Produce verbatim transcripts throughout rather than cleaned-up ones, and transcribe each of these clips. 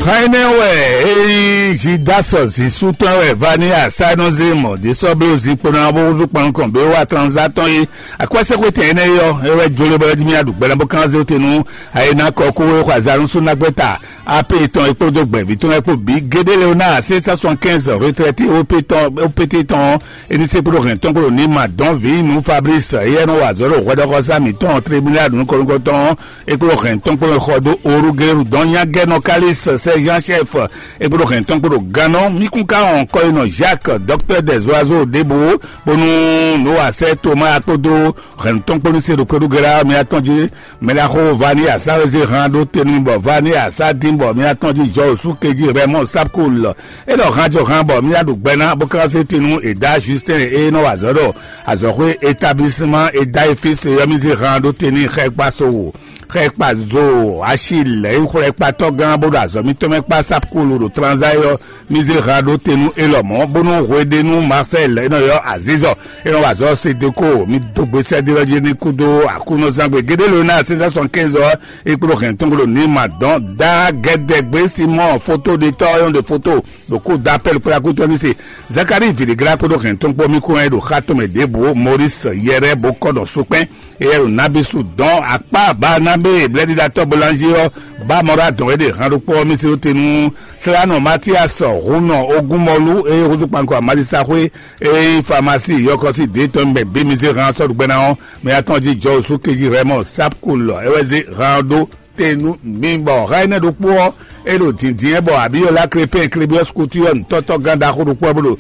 Xá énɛ́ wɛ é nyí Zidasɔ zǐsú tɔn wɛ Vania Sanozemo ɖě sɔ́ bló zinkpo ná bó húzú kpɔnukɔn bí wá tranzá tɔn é. Akwɛ́sɛ́xwétɛn énɛ́ é ɔ́, é wɛ jló bɔ é jí mì aɖu gbɛ́nɛ bó kán zé te nú ayé ná kɔ kó é xɔ azǎn nú súnnagbɛ́ta A P tɔn é kpódó gbɛ̌ví tɔn é kpó bǐ. Gédé Leonard six cent soixante-quinze retraité O P tɔn, O P T tɔn, é ní se kpódó hɛn tɔn kpódó ní ma dɔn vǐ nú Fabrice, éyɛ́ nɔ wa azɔ̌ ɖo hwɛɖɔxɔsá mǐtɔn tribunal nukɔn nukɔntɔn é kplɔ́n hɛn tɔn kplɔ́n xɔ dó Orugelu dɔn nyagɛ́nɔ Kalis Sɛzan Chɛf é kplɔ́n hɛn tɔn kplɔ́n gannɔ mí kún ká hɔn kɔyinɔ Jacques dɔktɛ́ dɛ̌ zɔazɔ ɖěbǔ bónú Nowa sɛ́ Toma kpódó hɛn tɔn kplɔ́n se ɖo kpɛɖúgɛlá mɛ atɔn jí. Mɛ ɖaxó Vani Asawezé hán ɖó te nú bɔ Vani Asa dín bɔ mí atɔn jí jɔ osú kejí Rɛmɔ Sapkul é ɖɔ hán jɔ hán bɔ mí aɖu gbɛ ná bó ká zé te nú Eda Justin é nɔ wa azɔ̌ ɖɔ azɔ̌xwé établissemant Eda Efis yɔmízé hán ɖó te n'i xɛ kpa so wò. Xɛ kpa zo Achille é xwlɛ kpatɔ́ gán bó ɖo azɔ̌ mítɔn mɛ kpá Sapkulu ɖo Tranzayɔ mí zé hán ɖó te nú élɔ́ mɔ̌ bónú hweɖénu Marcel é nɔ ylɔ́ Azizɔ é nɔ wa azɔ̌ Sedeko mí dó gbe sɛ́dé ɔ́ jí ní kúdó Aklúnɔzán gbe géɖé ló ná sɛ́nsɛ́n sɔn kɛ́nzɔ é kpló hɛn tɔn gbló ní ma dɔn dá gɛdɛgbé Simɔn foto ɖetɔ́ ɔ́ nyɔ́ ɖe foto ɖo kó dó apɛ́l kplá kútɔ́ ní se Zakari vǐɖiglá kpódó hɛn tɔn kpó mí kó wɛn ɖo xá tɔn mɛ ɖěbǔ Moris Yɛrɛ bó kɔ nɔ sukpɛ́n. Éyɛ́ ɖo Nabísu dɔn akpá Baanabé blɛ́ɖiɖatɔ́ Bolánzé ɔ́, bá mɔ ɖó adɔn é ɖe han ɖokpó ɔ́ mì se ɖó te nú Slánɔ Matías Húnɔ Ogúnmɔlú e húzú kpankɔ Amalisaxwé e nyí Famasí yɔkɔ́sí dě tɔn mɛ bí mi zé han sɔ́ ɖo gbɛ ná ɔ́, mɛ atɔn jí Jɔwusu kejí Rɛmɔ Sápkulɔ é wɛ zé han ɔ́ ɖó te nú mi bɔ há énɛ́ ɖokpó ɔ́, é ɖo dǐndín ɛ bɔ Abiyɔlá Krepɛ́n Klebiɔ́si Kutu ɔ́ nǔtɔ́tɔ́ gán ɖaxó ɖokpó ɔ́ bó ɖo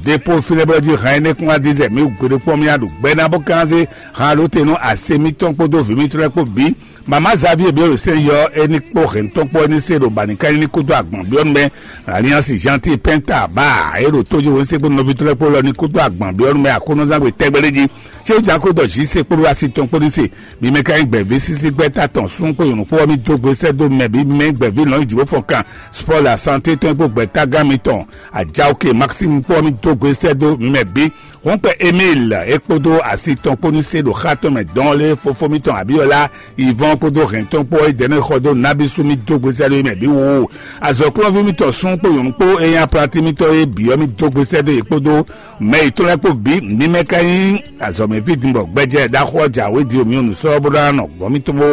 dépó fínɛ́ bó jí hɛn énɛ́ kún wá dín zɛ mǐ gbe ɖokpɔ́ mì wá ɖo gbɛ ná bó kán zé han ɖó te nú ase mítɔn kpódó vǐ mítɔn lɛ́ɛ kpó bǐ. Mama Xavier Biolo sɛ́n yɔ é ní kpó hɛn tɔn kpó é ní se ɖo bǎnikanyi ní kúdó agbɔ̌n byɔ́ nú mɛ. Alliance Gentil Penta bá é ɖo tójú wo ní se kpó nɔví tɔn lɛ́ɛ kpó lɔ ní kúdó agbɔ̌n byɔ́ nú mɛ Aklúnɔzán gbe tɛgbɛ ɖé jí. Céwú Jako ɖɔ jí se kpódó asi tɔn kpó ní se. Mi mɛ ka nyí gbɛ̌ví sísí gbɛ́ta tɔn sún kpó nyɔ̌nu kpó ɔ́ mì dó gbe sɛ́ dó mɛ bǐ mi mɛ nyí gbɛ̌ví lɔ̌nyijǐ bó fɔn kan spɔ́ la santé tɔn kpó gbɛ̌tágán mitɔn. Ajaoke Maxime kpó ɔ́ mì dó gbe sɛ́ dó mɛ bǐ. Hɔnkpɛ Emil é kpódó asi tɔn kpó ní se ɖo xá tɔn mɛ dɔn lé fofó mitɔn Abiyɔla Ivɔn kpódó hɛn tɔn kpó é dɛ́ nɔ xɔ dó nábísú mì dó gbe sɛ́ dó mɛ bǐ woo. Azɔ̌kplɔ́nví mitɔn sún kpó nyɔ̌nu kpó é nyí aplatí mitɔn é bǐ ɔ́ mì dó gbe sɛ́ dó yě kpódó mɛ yětɔn lɛ́ɛ kpó bǐ. Mi mɛ ka nyí azɔ̌mɛví din bɔ gbɛjɛ ɖaxó ɔ́ jǎwe din omi ɔ́ nǔ sɔ́ bó ná nɔ gbɔn mì tó bó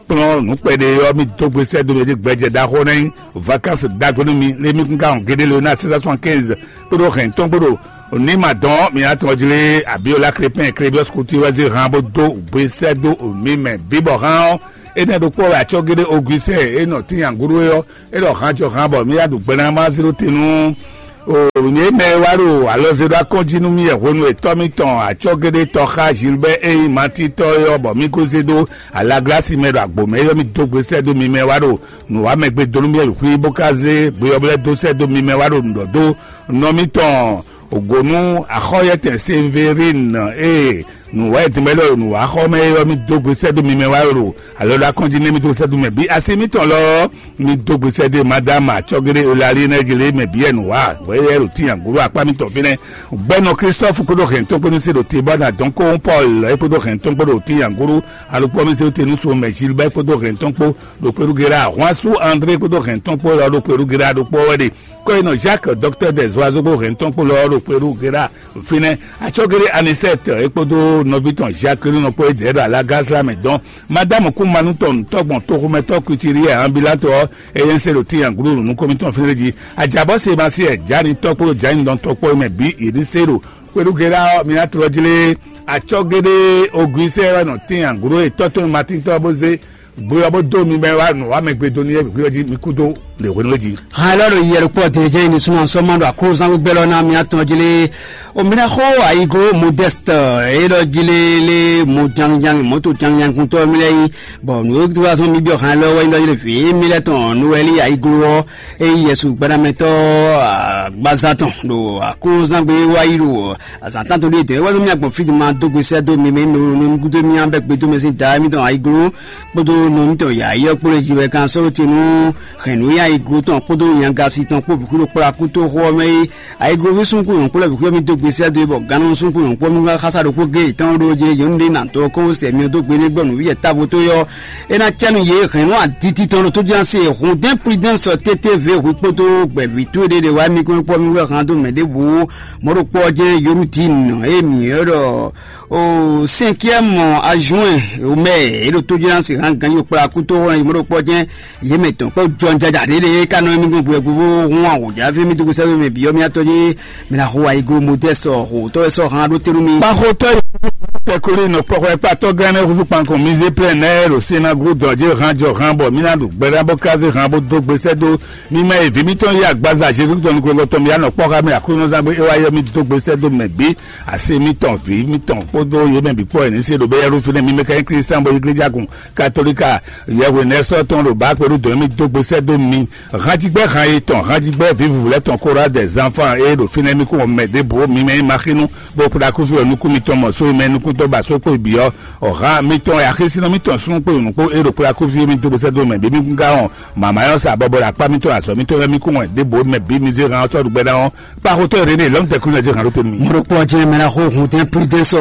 kplɔ́n nǔ kpɛɖé ɔ́ mì dó gbe sɛ́ dó mɛ dí gbɛjɛ ɖaxó ná nyí vacances ɖagbe nú mi lé mi kún ka hɔn géɖé le ná six cent soixante-quinze kpódó hɛn tɔn kpódó ní ma dɔn mi ná tɔn jlé Abiola Krépin Krébiɔs Couture wɛ zé han bó dó gbe sɛ́ dó mi mɛ bíbɔ hán ɔ́. Énɛ́ ɖokpó wɛ acɔ́ géɖé Augustin é nɔ tín yǎngúɖú é ɔ́, é ɖɔ hán jɔ hán bɔ mí yá ɖu gbɛ ná má zé ɖó te nú O, nyɛ mɛ e wá ɖo alɔ zé ɖó akɔ́njí nú mì wɛ hwenu e tɔ́ mitɔn acɔ́géɖé tɔ́ xá Gilbert e nyí Matitɔ́ é ɔ́, bɔ mì ko zé ɖó alaglasi mɛ ɖo agbo mɛ é ɔ́, mì dó gbe sɛ́ dó mi mɛ wá ɖo nǔwamɛgbe dó nú mì wɛ xwí bó ka zé gbe ɔ́ lɛ́ dó sɛ́ dó mi mɛ wá ɖo nǔ ɖɔ dó nɔ mitɔn ògǒnú axɔ́yɛtɛn Severin e nǔwɛ́ e din mɛ lɔ ɖo nǔwaxɔmɛ é ɔ́, mì dó gbe sɛ́ dó mi mɛ wá ɖo alɔ ɖo akɔ́njí nɛ́ mì dó sɛ́ dó mɛ bǐ asi mitɔn lɔ ɔ́, mì dó gbe sɛ́ dó madame acɔ́géɖé Eulalie nɛ́ jlé mɛ bǐ wɛ nǔwá hwɛ é ɖo tín agǔɖú akpá mitɔn fínɛ́. Gbɛnɔ Christophe kpódó hɛn tɔn kpódó se ɖo te bɔ na dɔn kó Paul é kpódó hɛn tɔn kpódó tín agǔɖú alukpɔ mi se ɖo te nú so mɛ Gilbert kpódó hɛn tɔn kpó ɖo kpéɖú Gérard Juansu André kpódó hɛn tɔn kpó lɔ ɖo kpéɖú Gérard ɖokpó wɛ ɖe. Kɔyinɔ Jacques dɔktɛ́ dɛzɔazogbo hɛn tɔn kpó lɔ ɖo kpéɖú Gérard fínɛ́. Acɔ́géɖé Anisɛt é kpódó nɔví tɔn Jacqueline kpó é dɛ̌ ɖo alágázlá mɛ dɔn. Madame kún manú tɔn tɔgbɔn toxomɛtɔ́ Kutiriɛ ambulant ɔ́, eye ń se ɖo tín agǔɖú nukɔn mitɔn fínɛ́ jí. Ajabɔ Sebasiɛ Jani tɔkpó Jani dɔn tɔkpó mɛ bǐ yě ní se ɖo. Kpéɖú Gérard ɔ́, mi ná tlɔ jlé. Acɔ́géɖé Augustin wɛ nɔ tín agǔɖú e tɔ́ tɔn Matín tɔ́ bó zé gbe ɔ́ bó dó mi mɛ wá nǔ wá mɛ gbe dó n'i é hwíhwɛ́ jí mi kú dó lě hwenu é jí. Hàn lɔ ɖo yɛlɛ kpɔ dede jɛ ni sunɔ sɔmɔ ɖo aklo zango gbɛ lɔ na mi atɔn jele. O mi na xo ayigo modeste e lɔ jele le mo janjan moto janjan kuntɔ mi lɛ yi. Bɔn nu e wa sɔn mi biɔ hàn lɔ wɛ lɔ jele fi mi lɛ tɔn nu wɛ li ayigo wɔ e yɛsu gbadamɛtɔ gbaza tɔn ɖo aklo zangbe wa yi ɖo azan tan to ɖe dɛ wɛ mi agbɔn fi ma do gbesɛ do mi mi nu nu gudo mi an bɛ gbedo mi si da mi tɔn ayigo kpodo nɔ mítɔn yǎyí ɔ́ kplé jí wɛ kan sɔ́ te nú hɛ̌nnúnya iglo tɔn kpódó nyagasi tɔn kpó bǐ xwíɖó kplá kútóxó ɔ́ mɛ é. Ayigloví súnkún nyɔ̌nkpɔ́ lɛ́ɛ bǐ xwíyɔ́ mì dó gbe sɛ́ dó é, bɔ gannú súnkún nyɔ̌nkpɔ́ mì wá xásá ɖokpó géé tɔn ɖó jɛ yǒnu ɖé nǎ dó kɔ́ sɛ myɔ dó gbe nɛ́ gbɔ nǔ yɛ távo tó yɔ́. É ná cɛ́ nú yě hɛ̌nnu aditi tɔn ɖo tójúnásé hǔndɛ́n Prudence T T V hwi kpódó gbɛ̌ví towe ɖé ɖe wá mì kɔn kpɔ́ mì wɛ hán dó mɛ ɖěbǔ. Mɔ̌ ɖokpó ɔ́ jɛ́n Yorudin e mǐ ylɔ́ ɖɔ o cinquième adjoint au maire é ɖo tójúnásé hán ganjí kplá kútóxó ɔ́, mɔ̌ ɖokpó ɔ́ jɛ́n yě mɛ tɔn kpɔ́ jɔnjaja ɖě ɖe é ka nɔ émí gbɔn gbɛgbó bó hún awǒjá fí mì dúgbò sɛ́dó mɛ bǐ ɔ́, mì atɔ́ jé mɛ ná xo ayiglo modɛ́sɔ xo tɔ́ wɛ sɔ́ han ɖó tɛ́nú mì. Kpaxotɔ́ yi tɛkuli nɔ kpɔxɔ kpatɔ́ gán nɛ́ húzú kpankɔn mi zé plɛ́n nɛ́ ɖo sinagogu dɔ̌ jé han jɔ han bɔ mì ná ɖu gbɛɖá bó ká zé han bó dó gbe sɛ́ dó mi mɛ e vǐ mítɔn yi agbaza Jezu Kristu nukúnmɛ tɔn mi anɔ kpɔ́ xá mɛ Aklúnɔzán gbé é wá yɔ mì dó gbe sɛ́ dó mɛ bǐ, asi mítɔn vǐ mítɔn kpódó yě mɛ bǐ kpɔ́ wɛ ní se ɖo bɛ́ yɛ́ɖú fínɛ́ mi mɛ ka nyí Klísa bɔ yi gléjágun Katolika yɛhwenɛ́sɔ́ tɔn ɖo bǎ kpɛɖú dɔ̌n mì dó gbe sɛ́ dó mi. Hanjigbɛ́ han e tɔn hanjigbɛ́ vǐvǔvú lɛ́ɛ tɔn Kora dɛ zanfan e ɖo fínɛ́ mì kún mɛ ɖěbǔ mi mɛ nyí maxínu bó kplá kúfí wɛ nukún mitɔn mɔ só mɛ nukúntɔ́ ba só kpó bǐ ɔ́, ɔ̌ hán mitɔn wɛ axésínɔ mitɔn súnnu kpó nǔ kpó e ɖo kplá kúfí mi dó gbe sɛ́ dó mɛ bǐ mi kún ká hɔn màmá ɔ́ sa bɔbɔ ɖo akpá mitɔn azɔ̌ mitɔn wɛ mì kún wɛ ɖěbǔ mɛ bǐ mi zé han ɔ́ sɔ́ ɖu gbɛ́ ná ɔ́, kpaxotɔ́ René lɔ̌n tɛkulu ná zé han ɖó te nú mi. Mɔɖokpɔ jɛn mɛ ná xo hun tɛn Prudence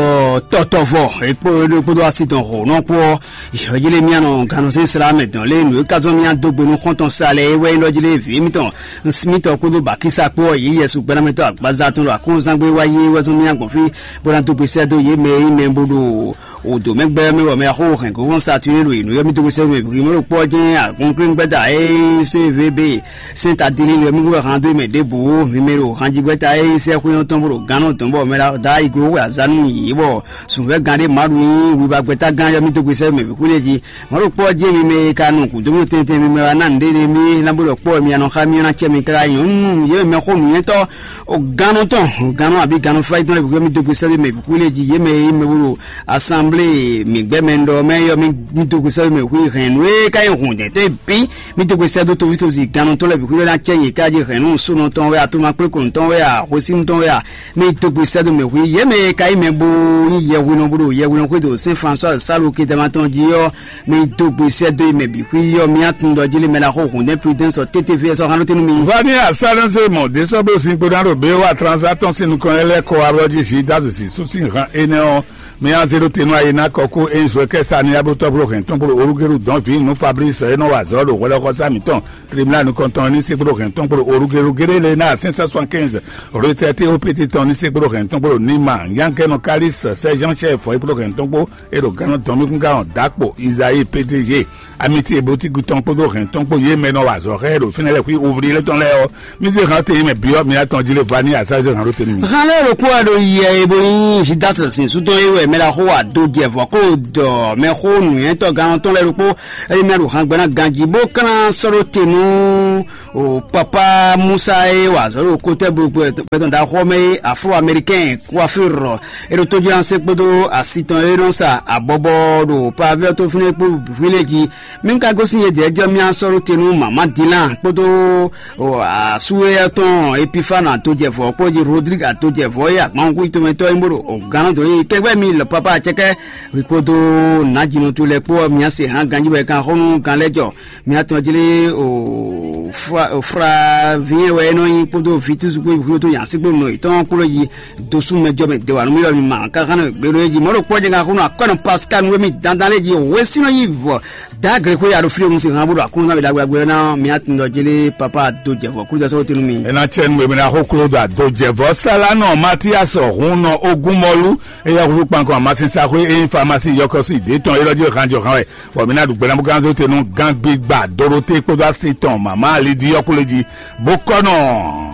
tɔtɔ vɔ ekpó ɖokpódó asi tɔn xo nɔ kpó yɔjilé mía nɔ gannɔsɛn sla mɛ dɔn lé nǔ e ka zɔn mía dó gbe nú xɔ́ntɔn sa lɛ é wɛ nyí ɖɔjilé vǐ mitɔn mitɔn kpódó bakísa kpó yi yɛsu gbɛnamɛtɔ agbaza tɔn ɖo akɔnzangbe wá yé wɛ zɔn mía gbɔn fí bó ná dó gbe sɛ́ dó yě mɛ e nyí mɛ bó ɖo o dǒ mɛ gbɛ́ mɛ bɔ mɛ xó hɛn gǒgɔn sa tuyé ɖo yě nú yɔ́ mì dó gbe sɛ́ mɛ bǐ mɛ ɖo kpɔ́ jɛ́n agun kléŋgbɛ́da e só e vé be sɛ́n ta dili lɛ mí wɛ han dó mɛ ɖěbǔ mi mɛ ɖo hanjigbɛ́ta e sɛ́ xwé ɔ́ tɔn bó ɖo gán nɔ dɔn bɔ mɛ da iglo wɛ azá nú yě bɔ sǔnfɛ́ gán ɖé Maɖu nyí wibagbɛ́ta gán yɔ́ mì dó gbe sɛ́ mɛ bǐ xwé lɛ́ɛ jí. Mɔ̌ ɖo kpɔ́ jɛ́n mi mɛ e ka nɔ gǔdo mì tɛntɛn mi mɛ wá ná nǔɖé ɖé mì ná bó ɖɔ kpɔ́ mi anɔ xá mì ná cɛ mi káká nyɔ̌nu yě mɛ xó nǔnywɛ́tɔ́ o gannɔ tɔn o gannɔ abǐ gannɔ fáyítɔn lɛ́ɛ bǐ xwé mì dó gbe sɛ́ dó mɛ bǐ xwé lɛ́ɛ jí yě mɛ e nyí mɛ bó ɖo asanblée mǐgbɛ́mɛ ɖɔ mɛ yɔ mì dó gbe sɛ́ dó mɛ xwé hɛn nǔ e ka nyí hǔndɛ́tɔ́ e bǐ mì dó gbe sɛ́ dó toví toví gannɔ tɔn lɛ́ɛ bǐ xwé ná cɛ yě ká jí hɛn nǔ sónɔ tɔn wɛ a tomakplékonu tɔn wɛ a hwesínu tɔn wɛ a mì dó gbe sɛ́ dó mɛ xwé yě mɛ e ka nyí mɛ bó nyí yɛhwinɔ bó ɖo yɛhwinɔ xwé ɖo Sɛn François Salo Kedama tɔn jí ɔ́ mì dó gbe sɛ́ dó yi mɛ bǐ xwí yɔ mì atún ɖɔ jí lé mɛ ná xó hǔndɛ́n Prudence ɔ tété fí ɛ sɔ́ hán nú tɛ́nú mi. Vani asalɛnse mɔ desɔblo sin kpo ná ɖo bé wa transa tɔn sin nukɔn lɛ́ lɛ́ kɔ ablɔ jí Judas si sú sín han énɛ́ ɔ́, mì azé ɖó te nú ayi ná kɔkú é nyí zwɛ kɛ́ sa ní ablótɔ́ kpló hɛn tɔn kpló olúgélu dɔn vǐ nú Fablísi e nɔ wa azɔ̌ ɖo hwɛɖɔxɔsá mǐtɔn tribúnálu nukɔntɔn ní sí kpló hɛn tɔn kpló olúgélu géɖé lé ná sɛ́n sɛ́n sɔ́n kɛ́nzɛ retraité opété tɔn ní sí kpló hɛn tɔn kpló nima nyánkɛ́nɔ Kalísi sɛ́ Jean chef é kpló hɛn tɔn kpó e ɖo gannɔ dɔn mì kún ká hɔn dǎkpo Izayi P D G amiti e bó tígu tɔn kpódó hɛn tɔn kpó yě mɛ nɔ wa azɔ̌ xá ɛ ɖo fínɛ́ lɛ́ɛ xwí ovlí lɛ́ɛ tɔn lɛ́ɛ ɔ́, mì zé han tɛn yi mɛ byɔ́ mi atɔn jí lé va ní asá zé han ɖó te nú mi. Han lɛ́ɛ ɖokpó wɛ ɖo yɛ e bó nyí Judas sin sú tɔn é wɛ mɛ ɖaxó wa do jɛ vɔ̌ kó dɔ mɛxó nǔnywɛ́tɔ́ gannɔ tɔn lɛ́ɛ ɖokpó, eye mɛ ɖo han gbɛ́ ná ganjí bó klán sɔ́ ɖó te nú o papa Musa e wa azɔ̌ ɖo kotɛ́ gbɛtɔn ɖaxó ɔ́ mɛ é Afro Américain coiffure é ɖo tójúlánse kpódó asi tɔn e nɔ sa abɔbɔ ɖo pavé ɔ́ tó fínɛ́ kpó hwilé jí. Mí ka gosín yědɛɛ jɔ mía sɔ́ ɖó te nú mama Dilan kpódó asúwéyɛ́ tɔn Epifana atojɛvɔ́ kpó jí Rodrigue atojɛvɔ́ e agbanxú tomɛtɔ́ nyí bó ɖo gannɔ dó yi kɛgbɛ́ mi lɔ papa acɛkɛ kpódó nǎjínɔ towe lɛ́ɛ kpó ɔ́, mǐa se hǎn ganjí bɔ è kan xó nú gan lɛ́ɛ jɔ. Mǐa tɔn jlé o fra vǐ e wɛ é nɔ nyí kpódó vǐtúzú kpó xwíxwí tó nyi asíkpó nɔ yětɔn kpló yi dosú mɛ jɔ mɛ dewanu mì lɔ mi ma káká nɔ gbé ɖó é jí mɔ̌ ɖo kpɔ́ jɛ ŋa xó nɔ akɔ́ nɔ Pascal nú émí dandan lé jí wěsínɔ yí vɔ dagre xwé ya ɖo fí ɖo mu si hàn bó ɖo akúnú náwó ɖagbe ɖagbe ná mǐa tun ɖɔ jélé papa do jɛ vɔ kúlú dɔ sɔ́ tunu mi. Ena tsɛ nu èmi ná xó kúló ɖo àdó jɛ vɔ sálá nɔ Matias hun nɔ ogún mɔlú eya xúxú kpankɔ amasinsaxwé e nyí famasi yɔkɔsi dě tɔn é ɖɔ jí hàn jɔ hàn wɛ bɔ mǐ ná ɖu gbɛ́ ná bó gán zé te nú gán gbígbà Doroté kpódó asi tɔn mama Lidi yɔkúlé jí bó kɔ́ nɔ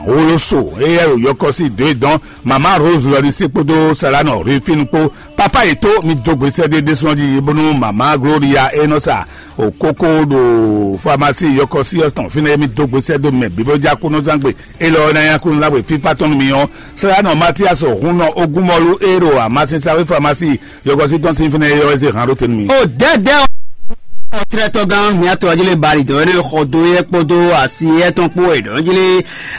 woloso eya ɖo yɔkɔsi dě dɔn mama Rose lɔ ní sí kpódó sálá nɔ Rufinu kpó papa yětó mi dó gbe sɛ́ ɖé ɖésúnɔ jí bónú mama Gloria e nɔ sa o kókó ɖo famasi yɔkɔsi ɔ́ tɔn fínɛ́ mi dó gbe sɛ́ dó mɛ bíbélɔjákúnɔzán gbe élɔ́ ɔ́ ná nyí Aklúnɔzán gbe fífá tɔn nú mi ɔ́. Sɛ́ nɔ Matias hun nɔ ogún mɔlú e ɖo amasinsaxwé famasi yɔkɔsi tɔn sín fínɛ́ é ɔ́ zé hǎn ɖó te nú mi. O dɛdɛ o. Xɔtlɛ́tɔ́gán mǐtɔn Ajílé Bali dɔn énɛ́ xɔ dó yɛ kpódó asi yɛ tɔn kpó wɛ ɖɔ̌ jí lé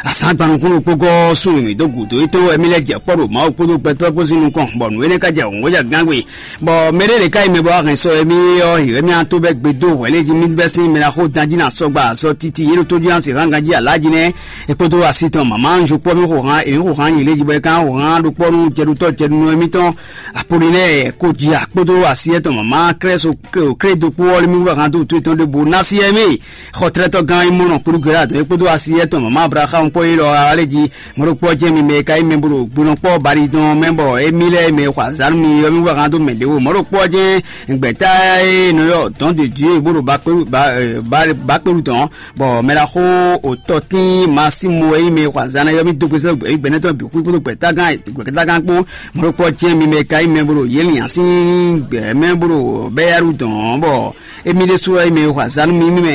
azǎn gbanukúnnu kpó gɔ́ súnnu mǐ dó gǔdo é tɔn wɛ mì lɛ́ jɛ kpɔ́ ɖo Mawu kpódó gbɛtɔ́ kpó sín nukɔn, bɔ nǔ énɛ́ ka jɛ wǒngbó jɛ gán gbe. Bɔ mɛɖé ɖě ká yi mɛ bɔ wá hɛn sɔ émí ɔ́, hǐ wɛ mì á tó bɛ́ gbe dó hwɛ̌ lé jí mì bɛ́ sín mɛ ná xó dan jí ná sɔgba azɔ titi yě ɖo tó jí ná sixá ganjí alá jí nɛ́. É kpódó asi tɔn mǎmá Anzu kpɔ́ mì xo hán, èmí xo hán nyi lé jí bɔ é ká xo hán ɖokpɔ́ nú jɛɖutɔ́ jɛɖunɔ émítɔn Apolinɛ́ɛ kó jí akpódó asi étɔn mǎmá Klɛ́so Klé dókpó ɔ́ lé mì wú hán dó wútu étɔn ɖěbǔ ná sí ɛmí. Xɔtlɛ́tɔ́ gán Imɔnɔ kpódó Gɛlá dɔn é kpódó asi étɔn mǎmá Ablaham kpɔ́ é lɔ alá lé jí. Mɔ̌ ɖokpó ɔ́ jɛ́n mi mɛ e ka nyí mɛ bó ɖo gbinɔ kpɔ́ Bali tɔn mɛ bɔ émí lɛ́ɛ mɛ e xɔ azǎn nú mi ɔ́, mì wú hán dó mɛ ɖěvo. Mɔ̌ ɖokpó ɔ́ jɛ́n gbɛ̌ta e nɔ ylɔ́ dɔn de Dieu bó ɖo bakpéɖu ba- ba- bakpéɖu tɔn, bɔ mɛ ɖaxó òtɔtín Masimo e nyí mɛ e xɔ azǎn ná ɔ́, mì dó gbe sɛ́ gbɛ̌nɛ́tɔ́ bǐ xwí kpódó gbɛ̌tágán gbɛ̌tágán kpó. Mɔ̌ ɖokpó ɔ́ jɛ́n mi mɛ e ka nyí mɛ bó ɖo Yělian sín gbɛ̌ mɛ bó ɖo Bɛ́yálu dɔn ɔ́, bɔ émí ɖésú wɛ mɛ e xɔ azǎn nú mi, mì mɛ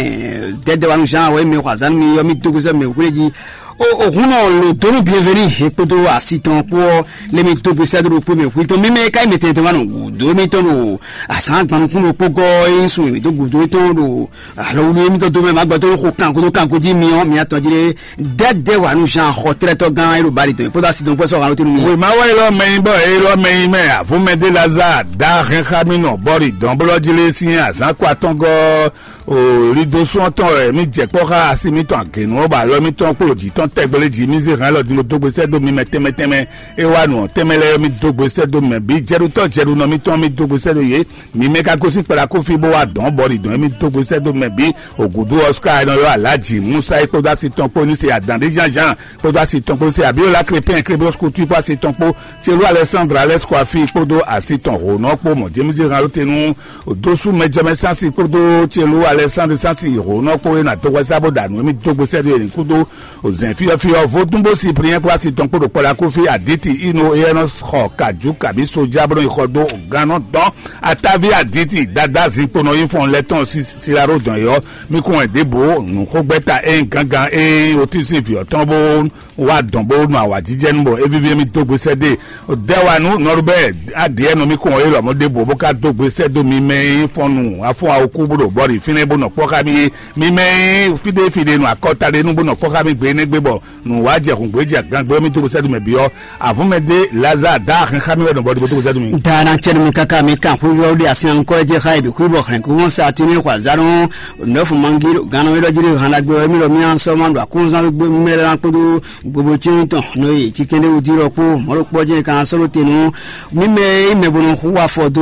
Dɛdɛwanu Jean wɛ mɛ e xɔ azǎn nú mi ɔ́, mì dó gbe sɛ́ mɛ hwlé jí. O o hun nɔ lo donu bienveni he kpódó asi tɔn kpó ɔ́, lé mi dó gbe sɛ́ dó ɖokpó mɛ hwlé tɔn mímɛ ka yi mɛ tɛntɛn wá nɔ gǔdo émítɔn ɖo azǎn gbanukún ɖokpó gɔ́ é nyí sun mǐ dó gǔdo étɔn ɖo alɔ wúlú émítɔn dó mɛ má gbɛtɔ́ xo kanko dó kanko jí mi ɔ́ mi atɔn jí lé dɛdɛ wà nú Jean xɔ tlɛtɔ gán é ɖo bali tɔn kpódó asi tɔn kpó sɔ́ hàn ló tɛnu mi. Wema wɛ élɔ́ mɛ nyi bɔ élɔ́ mɛ nyi mɛ avúmɛdé Lazare dá hɛn xá mì nɔ bɔ́ ɖi dɔn bó lɔ́ jí lé sín azǎn kó atɔ́ngɔ́. O lido sún ɔ́ tɔn wɛ mì jɛ kpɔ́ xá asi mǐtɔn agěnu ɔ́, bɔ alɔ mǐtɔn kpó jǐ tɔn tɛgbɛ lé jí mì zé hɛn lɔ din dó gbe sɛ́ dó mi mɛ tɛnmɛ tɛnmɛ. É wá nǔ ɔ́ tɛnmɛ lɛ́ɛ ɔ́, mì dó gbe sɛ́ dó mɛ bǐ jɛɖutɔ́ jɛɖunɔ mǐtɔn mì dó gbe sɛ́ dó yě. Mi mɛ ka gosín kplá kófí bó wá dɔn bɔ ɖi dɔn émí dó gbe sɛ́ dó mɛ bǐ. Ògǔdú ɔ́ ká nɔ ylɔ́ Alǎjǐ Musa é kpódó asi tɔn kpó ní se adǎn ɖé Jean Jean kpódó asi tɔn kpó ní se Abiola Crépin Créblos Couture kpó asi tɔn kpó Chelú Alexandre Alex Koafi kpódó asi tɔn hǒnɔ kpó mɔ̌ James Ralotenu dósú mɛjɔmɛ Sansi kpódó Chelú Alexandre Sansi hǒnɔ kpó é ná dó hwɛsá bó ɖa nǔ émí dó gbe sɛ́ dó yě ní kúdó. Ozɛn fiyɔfiyɔ vodún bó si prinyɛ́ kpó asi tɔn kpó ɖo kpɔlá kófí aditi ino éyɛ́ nɔ xɔ kàjú kàbí sojá bó nɔ yi xɔ dó gannɔ dɔn ataví aditi dada zinkpo nɔ yi fɔn lɛ tɔn silaro dɔn yɔ. Mi kún wɛ ɖěbǔ nǔxógbɛ́ta ée gángan ée otísí vǐ ɔ́ tɔn bó wá dɔn bó nɔ awǎjijɛ nu bɔ é víví émí dó gbe sɛ́ dó. Dɛwanu nɔɖubɛ adìɛ nɔ mi kún wɛ é lɔmɔ̌ ɖěbǔ bó ká dó gbe sɛ́ dó mi mɛ e fɔn nu afɔ́n awokú bó ɖo bɔ́ ɖi fínɛ́ bó nɔ kpɔ́ xá mi é. Mi mɛ e fíɖé fíɖé nɔ akɔta ɖé nú bó nɔ kpɔ́ xá mi gbe énɛ́ gbe bɔ nǔ wá jɛ hǔngbé jɛ gangbé mì dó sɛ́ dó mɛ byɔ́. Avɔ̌ mɛ ɖé Lazare dá hɛn xá mì wɛ nɔ bɔ ɖibo dó sɛ́ dó mi. Dana cɛnu mi kaka mi kan xwé yɔ ɖe asin ankɔ jɛ xa ibi xwé bɔ xlɛn kó wɔn sa tini xɔ azanu nɔfu mangi ganu yɔ jiri hana gbɛ mi lɔ mi an sɔ ma do akunzan gbɛ mɛ la kpodo gbogbo tini tɔn no ye ci kende wudi lɔ kpo mɔlo kpɔ jɛ kan sɔlo tenu mi mɛ yi mɛ bono xu afɔ do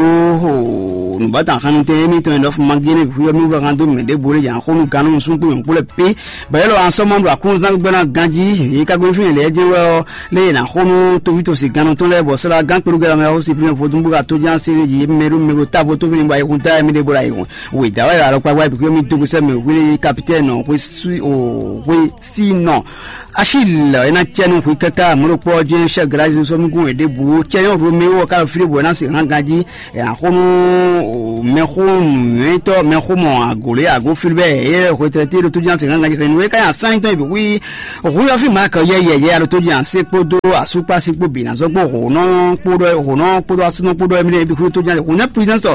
nubata xanu tɛ mi tɔn nɔfu mangi ne xuyɔ mi wɛ kan do mɛ de bore yan xonu ganu sun kpo yɔn kpo lɛ pe. Bɔ yɛ lɔ ansɔmɔ ɖo aklúnzán gbígbɛ́ná ganjí, yě ká gbé fínɛ́ lɛ́ɛ jɛ́n wɛ ɔ́, lé yě ná xo nú tovítɔ́ gannɔ tɔn lɛ́ɛ, bɔ sɛ́ ɖó agán kpeɖó gɛ́ lanmɛ ɔ́, si fínɛ́ vodún bó ka tó ján séré jí mɛ ɖó mɛ ɖo távo tó fínɛ́ bɔ ayihun táyà mì ɖé bó ɖo ayihun. Wědǎ wɛ alɔkpa wá bǐ mì dó gbèsè mɛ hwilé kapitɛ́nɔ hwesí o hwesínɔ. Achille é ná cɛ nú hwi káká mɔ̌ ɖokpó ɔ́ jɛ́n chef de la zone sɔ́ nukún wɛ ɖěbǔ cɛ nyɔ́ Roméo ɔ́ ká ɖo fí ɖé bɔ é ná se hán ganjí. Ɛ, axɔ́nú mɛxó nyɔ̌nyitɔ́ mɛxómɔ agǒlé agó Filibɛ́ɛ, yɛ hwetɛ́té ɖo tójúná se gángan jɛ xɛnu é ká nyi asán nyitɔ́ yi bǐ xwí. Hu yɔ́fí Maak yɛ yɛyɛ aɖo tójúná se kpódó asúkpásí kpó bǐ ná zɔ́ kpó hǒnɔ kpódó hǒnɔ kpódó asúnɔ kpódó ɛmí ɖé bǐ xwí tójúná se hǔn nɛ́ Prudence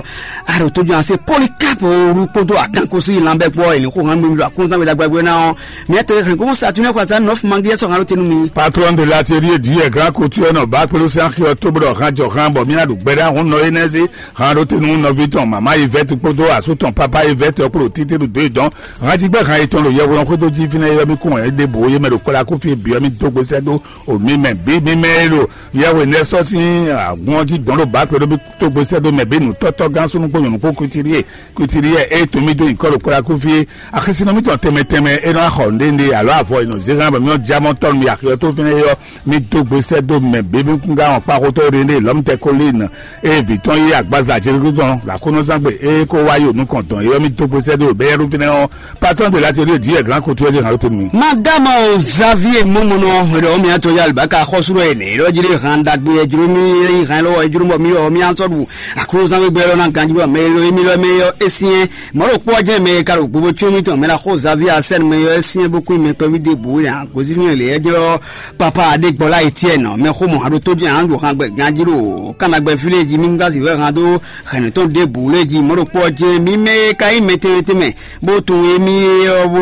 aɖo tójúná se Polycarpe olú kpódó akankosi lanbɛ kpó ɛnì xó hán mi ɖo akúnzán mi ɖagba gbé ná ɔ́. Mǐ tɔn e hɛn gomɔ sa tún ní xɔ sa nɔ́ fún mangíyɛ sɔ́ hán ɖó tenu mi. Patron de l'atelier du grand couture nɔ ba kpelu sɛn xyɔ to bɔ han jɔ han bɔ mía ɖu gbɛɖe ahun nɔ énɛ́ zé han ɖó tenu nɔví tɔn mama Yvette kpódó asú tɔn papa Yvette kpódó títí ɖo dó dɔn han jí gbɛ han yetɔn ɖo yɛhweɖɔn xwédo jí fínɛ́ yɔ mì kún ɛ ɖe bò yé mɛ ɖo kpɔlá kú fí biɔ mì dó gbé sɛ́ dó o mi mɛ bí mi mɛ e ɖo yɛhwe nɛ sɔ́ sín agun ɔ́ jí dɔn ɖo ba kpɛɖó mì tó gbé sɛ́ dó mɛ bí nǔtɔ́tɔ́ gán súnú kpó nyɔ̌nu kpó kutiri e kutiri yɛ é tun mì dó nyǐkɔ ɖo kpɔlá kú fí. Axisínɔ mítɔn tɛnmɛ tɛnmɛ é nɔ xɔ nǔɖé nǔɖé alo avɔ e nɔ zé hán bɔ mí nɔ já mɔ tɔn nú axi ɔ́ tó fínɛ́ é ɔ́, mí dó gbe sɛ́ dó mɛ bǐ mí kún gán wɔn kpáxotɔ́ René lɔ̌mtɛ Kolín e vǐ tɔn yí agbaza Jeluzalɛ́mu ɖo aklúnɔzángbe é kó wá yi nukɔn dɔn é ɔ́, mí dó gbe sɛ́ dó bɛ́yɛ́ɖú fínɛ́ ɔ́. Patɔ́n de l'atelier du yɛ glán kotu ɔ́ zé hǎn ló tenu mì. Madama o Xavier Momono ɖɔ mì atɔ ya alibaka xɔsúrɔ ene ɖɔ jiri hàn dagbe ejro mi hàn lɔ ejro bɔ mi yɔ mi ansɔ ɖu aklúnɔzángbe gbɛ lɔ na ganji bɔ mɛ lɔ emi lɔ mɛ yɔ esinyɛ mɔɖo kpɔ jɛ mɛ ka ɖo gbogbo tso mi tɔn mɛ la xɔ Xavier asɛn mɛ yɔ esinyɛ bó kún mɛ kpɛvi de bu ya gozi Fínɛ́ lě ɛ jɛ ɔ́, papa Adégbɔlá Etienne mɛ xó mɔ aɖo tó jɛ hǎn ɖo hǎn gbɛ ganjí ɖo kánnagbɛ fí lé jí mí ŋgá si wɛ hǎn dó hɛ̌nnu tɔn ɖěbǔ lé jí mɔ̌ ɖokpó ɔ́ jɛ́n mí mɛ e ka nyí mɛ tɛnmɛ tɛnmɛ bó tunwun émí ɔ́ bó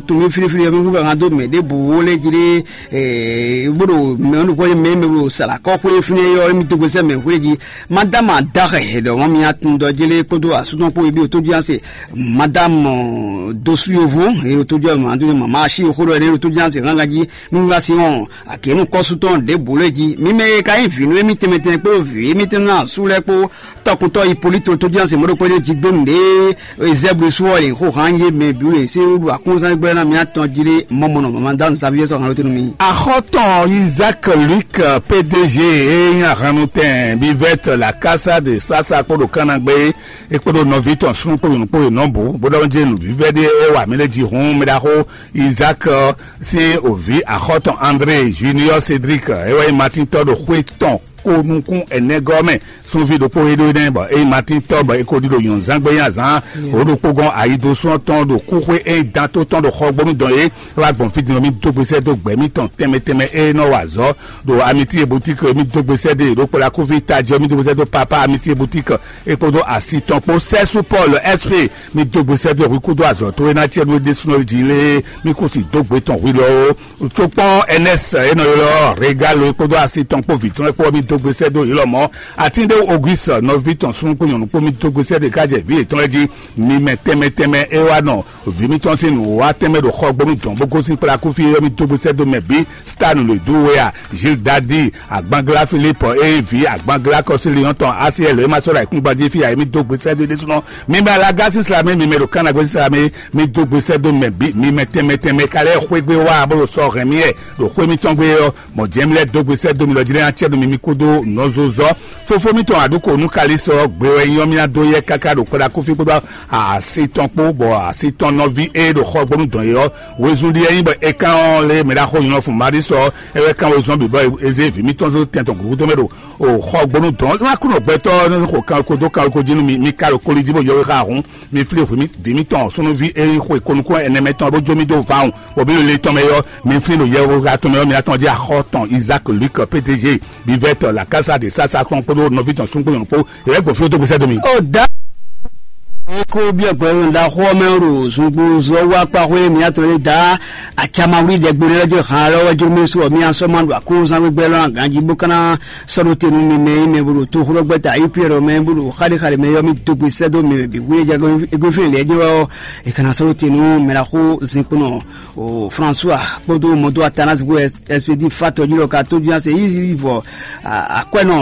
tunwun mí flíflí ɔ́ mí wɛ hǎn dó mɛ ɖěbǔ lé jí ɖé bó ɖo mɛ ɔ́ ɖokpó jɛ́n mɛ mɛ ɖo sala kɔ́xwé fínɛ́ ɔ́ émí dó gbèsè mɛ xwé jí. Madame Adaxe ɖɔ mɔ mía tun dɔ jélé kpódó asúnɔ kpó yebí otójúyánse. Madame Dosu Yovo e otójú mama asi xó ɖɔ ɛnɛ otójúyánse gángan jí mímúlá sí hɔn. Akénu kɔ́sútɔn ɖěbǔ lé jí mímɛ e ka nyí vǐ nú émí tɛnmɛ tɛnmɛ kpó vǐ émí tɛnmɛ ná asú lɛ́ kpó tɔkùntɔ Hipólíto otójúyánse mɔɖokpó ɖé jí gbé nǔɖé. Ezɛ́blu sú ɔ́ lě xó hán yé mɛ bǐ lě sí wúɖu akúnzán gbɛ́ ná mía tɔn jí lé mɔmɔnɔ mama dá nǔsáví yɛ́ sɔ́ hán ló tɛ́ nú mì. Axɔ́tɔn Isaac Luc, P D G e nyí ahan nú tɛn Bivɛt la kása de sasa kpó ɖo kánna gbé é kpódó nɔví tɔn súnnu kpó nyɔ̌nu kpó yě nɔ bǔ bó ɖɔ jɛ nǔvívɛ́ ɖé é wa mǐ lɛ́ jí hǔn mɛ ɖaxó Isaac sín òví axɔ́ tɔn André Junior Cédric é wɛ nyí Matín tɔ́ ɖo xwé tɔn ko nukún ɛnɛgɔ́ mɛ. Súnví ɖokpó é ɖó énɛ́ bɔ é nyí Matín tɔ́ bɔ é ko ɖi ɖo nyɔ̌nzán gbé nyi azǎn. Wǒ ɖokpó gɔ́n ayidosú ɔ́ tɔn ɖo kúxwé é nyí dán tó tɔn ɖo xɔgbónú dɔn é wá gbɔn fí din ɔ́, mì dó gbe sɛ́ dó gbɛ̌ mǐtɔn tɛnmɛ tɛnmɛ é nɔ wa azɔ̌ ɖo Amití e Boutique, mì dó gbe sɛ́ dó yě ɖó kplakúví tajɛ, mì dó gbe sɛ́ dó Papa Amití e Boutique é kpódó asi tɔn kpó. Sɛ́sú Paul S P, mì dó gbe sɛ́ dó hwi kúdó azɔ̌ towe ná cɛ nú é ɖésúnɔ jí lé, mì kú si dó gbe tɔn hwi lɔ ó. Cokpɔ́n N S e nɔ ylɔ́ Regalo é kpódó asi tɔn kpó vǐ tɔn é kpó, mì dó gbe sɛ́ dó yě lɔmɔ̌. Atíndéwu Auguste nɔví tɔn súnnu kpó nyɔ̌nu kpó, mì dó gbe sɛ́ dó é ká jɛ vǐ yětɔn lɛ́ɛ jí. Mi mɛ tɛnmɛ tɛnmɛ é wá nɔ vǐ mitɔn sín nǔwiwa tɛnmɛ ɖo xɔgbónú dɔn bó gosín kplá kúfí é ɔ́, mì dó gbe sɛ́ dó mɛ bǐ. Stan lě dó we a, Gilles Dadi, Agbanglá Philippe e nyí vǐ Agbanglá Kɔsíliyɔ́n tɔn Asiɛl e ma sɔ́ ɖo ayǐkúngban jí fí ǎ é, mì dó gbe sɛ́ dó é ɖésúnɔ. Mi mɛ Alaga sín slamɛ, mi mɛ ɖo Kánagbe sín slamɛ, mì dó gbe sɛ́ dó mɛ bǐ. Mi mɛ tɛnmɛ tɛnmɛ ka lɛ́ xwégbé wá bó ɖo sɔ́ hɛn mì wɛ ɖo xwé mitɔn gbe ɔ́, mɔ̌ jɛ́n mi lɛ́ dó gbe sɛ́ dó mi lɔ jí lɛ́ɛ ná cɛ nú mi, mi kúdó nɔzozɔ. Fofó mitɔn Aɖuko nú Kalísɔ gbe wɛ nyí ɔ́, mì ná dó yɛ káká ɖo kplá kúfí kpódó asi tɔn kpó, bɔ asi tɔn nɔví e ɖo xɔgbónú dɔn é ɔ́, wezun ɖi wɛ nyí bɔ é kán ɔ́ lé mɛ ɖaxó nyɔ́ fun Marísɔ ɔ́, é wɛ kán wezun ɔ́ bǐ bɔ é zé vǐ mitɔn zó tɛn tɔn gǔdo mɛ ɖo o xɔgbónú dɔn. Nú Aklúnɔ gbɛtɔ́ ɔ́ nɔ xo kan ko dó kan ko jí nú mi, mi ka ɖo koli jí bó yɔ wé xá hǔn, mi flí hwǐ vǐ mitɔn súnnuví e nyí xwe ko nukún ɛnɛ mɛ tɔn bó jó mì dó vawun, bɔ mì ɖo le tɔn mɛ ɔ́, mi flí ɖo yɛhweha tɔn mɛ ɔ́, mi atɔn jí axɔ tɔn Isaac Luc P D G, Bivɛt la Casa de Sasa tɔn kpódó nɔví tɔn súngbó nyɔ̌nu kpó, yě wɛ gbɔn fí dó gbèsè dó mi. Ó dá eko biɔ gbɛlɛnu ɖaxó ɔ́ mɛ ɖo zungbozɔ wá kpáxwé mǐtɔn e da acamawlí ɖɛgbe ɖé lɛ́ jɛ han lɔ́ wɛ jló mɛ su ɔ́ mì asɔ́ ma ɖo aklúnúzán gbígbɛ́ lɔ́ ná ganjí bó ka ná sɔ́ ɖó te nú mi mɛ e mɛ bó ɖo toxóɖɔgbɛ́ta U P R mɛ bó ɖo xaɖéxaɖé mɛ ɔ́ mì dó gbe sɛ́ dó mɛ bǐ hu e jɛ égúnfín lɛ́ɛ jɛ wɛ ɔ́, è ka ná sɔ́ ɖó te nú mɛ ɖaxó zinkpo nɔ o François kpódó mɔdó Athanase kpó Expédie Fatɔ jí lɔ ka tó jí ase Ivɔ akwɛnɔ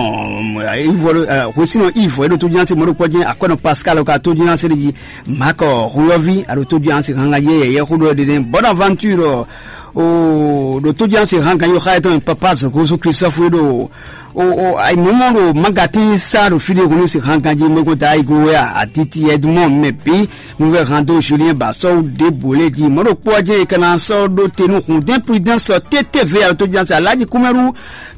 Ivɔ hwesínɔ Ivɔ é ɖo tó jí ase mɔdó kpɔ́ jí akwɛnɔ Pascal ka tó jí ase ɖe jí Marc Huyɔvi a ɖo tó jí ase hanga yɛ yɛ xó ɖɔ ɖe Bonaventure o ɖo tó jí ase hanga yɔ xa etɔn papa Zogozo Christophe é ɖo o o ayi mɔmɔ ɖo magatín sá ɖo fí ɖé hun ní se hanga jí mɔgɔn ta ayi go wɛ a atiti Edmond mɛ bí Nuvɛ hando Julien ba sɔ́ ɖěbǔ lé jí mɔ̌ ɖokpó ɔ́ jɛ́n è ka ná sɔ́ ɖó te nú Hondɛ́n Prudence ɔ́ tétévé alo tó jɛ́n sɛ Alhaji Kúmɛ́rú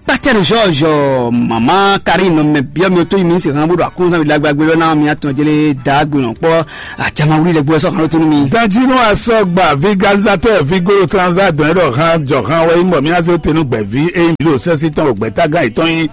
Patɛ́r George mama Karine mɛ byɔ́ mi tó yi mi se hàn bó ɖo akúnzán mi ɖagba gbé lɔ ná mi atɔn jɛlé dá gbé nɔ kpɔ́ àjàmà wuli lɛ gbé sɔ́ hàn ló te nú mi. Danjinu asɔgba vigazatɔ vigolo transa dɔn ɖɔ hàn jɔ hàn wɛ mɔ mi ase tenu gbɛvi eyi mi ɖo sɛsi tɔn gbɛtagán yìí tɔn yi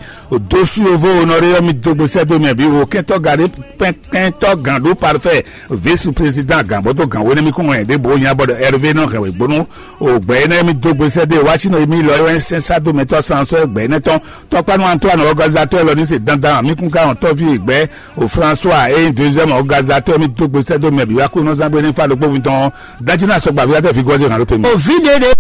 dosu yovo onɔre yɔ mi dogbo sɛ do mɛ bi wo kɛntɔ gade pɛnkɛntɔ gan ɖó parfait vice président gan bɔ dó gan wéné mi kún wɛn ɖěbǔ nya bɔ ɖɔ Hervé nɔ hɛn wěgbónú o gbɛ énɛ́ mi dó gbe sɛ́ dó e wá sínɔ mi lɔ é wɛ nyí sɛ́nsádomɛtɔ́ sansɔ́ gbɛ énɛ́ tɔn tɔkpanu Antoine organisateur lɔ ní se dandan mi kún ká hɔn tɔ́ví e gbɛ o François e nyí deuxième organisateur mi dó gbe sɛ́ dó mɛ bǐ wá kó nɔ zán gbé ní fa ɖokpó mi tɔn dájú náà sɔgba vǐ wá tɛ fi gɔ́zé hàn ló tɛ mi. Ovi ɖe ɖe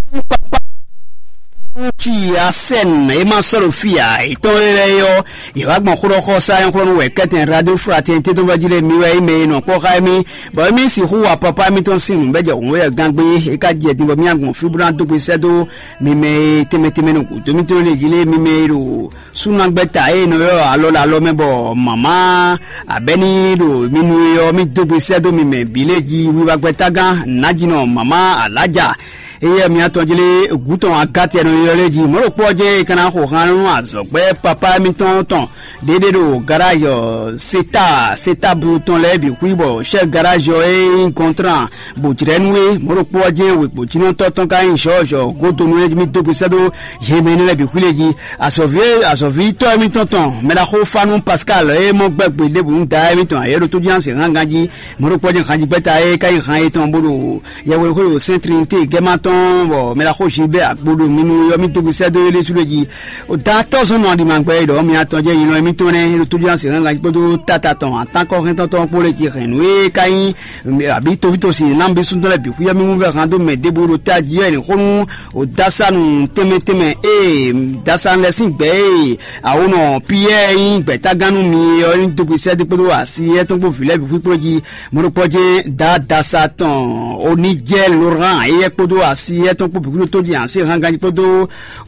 ci asɛn e ma sɔ́ ɖo fí a etɔn lɛ yɔ yɛ wá gbɔn xlɔ́xɔ sa nyɔ́xlɔ́nú wɛ kɛtɛn radio fraternité tó vɛ́ jí lé mi wɛ é mɛ e nɔ kpɔ́ xá émí bɔ émí sixú wa papa émítɔn sín nǔ bɛ́ jɛ hǔn wɛ gán gbé é ká jɛ din bɔ mí agbɔn fí bó ná dó gbe sɛ́ dó mi mɛ e tɛnmɛ tɛnmɛ nɔ gǔdo mítɔn lé jí lé mi mɛ e ɖo súnagbɛ́ta e nɔ ylɔ́ alɔ ɖo alɔ mɛ bɔ mama abɛ́ní ɖo mi nu e ɔ́ mí dó gbe sɛ́ dó mi mɛ bǐ lé jí wiwa gbɛ́tágán nǎjínɔ mama alájà Éyɛ́ mi atɔn jlé gǔ tɔn agátɛ nɔ ylɔ́ lɛ́ɛ jí mɔ̌ ɖokpó ɔ́ jɛ́n é ka ná xo han nú azɔ̌gbɛ́ papá émítɔn tɔn ɖéɖé ɖo garázi ɔ́, seta seta blu tɔn lɛ́ɛ bǐ xwí bɔ chɛ́ garázi ɔ́ é nyí gɔntrán bó jlɛ́ nú é. Mɔ̌ ɖokpó ɔ́ jɛ́n wěkpǒjínɔtɔ́ tɔn ka nyí Zɔ́ɔzɔ godonu lɛ́ɛ mì dó gbe sɛ́ dó yě mɛ énɛ́ lɛ́ɛ bǐ xwí lɛ́ɛ jí. Azɔ̌ví azɔ̌vítɔ́ émítɔn tɔn mɛ ɖaxó Fanu Pascal e mɔ gbɛ́ gbe ɖěbǔ nú da émítɔn ayɛ́ ɖo tójúnásě hángan jí. Mɔ̌ ɖokpó ɔ́ jɛ́n hanjígbɛ́ta e ka nyí han yětɔn bó ɖo yɛhweɖéxwé ɖo Sɛ́n Trinité gɛ́má tɔn bɔ mɛ ɖaxó Gilbert Agboɖo mi nu yɔ mì dó gbe sɛ́ dó é ɖésú ɖé jí. Datɔ́ zɔn nɔ aɖimǎgbɛ́ e ɖɔ mì atɔn jɛ nyinɔ émítɔn nɛ́ ɖo tójúnásě hángan jí kpódó tata tɔn atánkɔ́hɛntɔ́ tɔn kpó lɛ́ jí hɛn nǔ e ka nyí àbí tovítosi námúbísúntɔ́ lɛ́ɛ bǐ xwíyá mì wúvɛ́ han dó mɛ ɖěbǔ ɖo tají ɔ́, è nǐ xó nú o dasanu tɛnmɛ tɛnmɛ e dasanu lɛ́ɛ sín gbɛ̌ e awonɔ Piyɛ́ɛ nyí gbɛ̌tágán nú mi ɔ́ ní dó gbe sɛ́ dó kpódó asi éyɛ́ tɔn kpó vǐ lɛ́ɛ bǐ xwíkplɔ́ jí. Mɔ̌ ɖokpɔ́ jɛ́n Dadasa tɔn Onijɛ Loran éyɛ́ kpódó asi éyɛ́ tɔn kpó bǐ xwíɖó tó jí asi hángan jí kpódó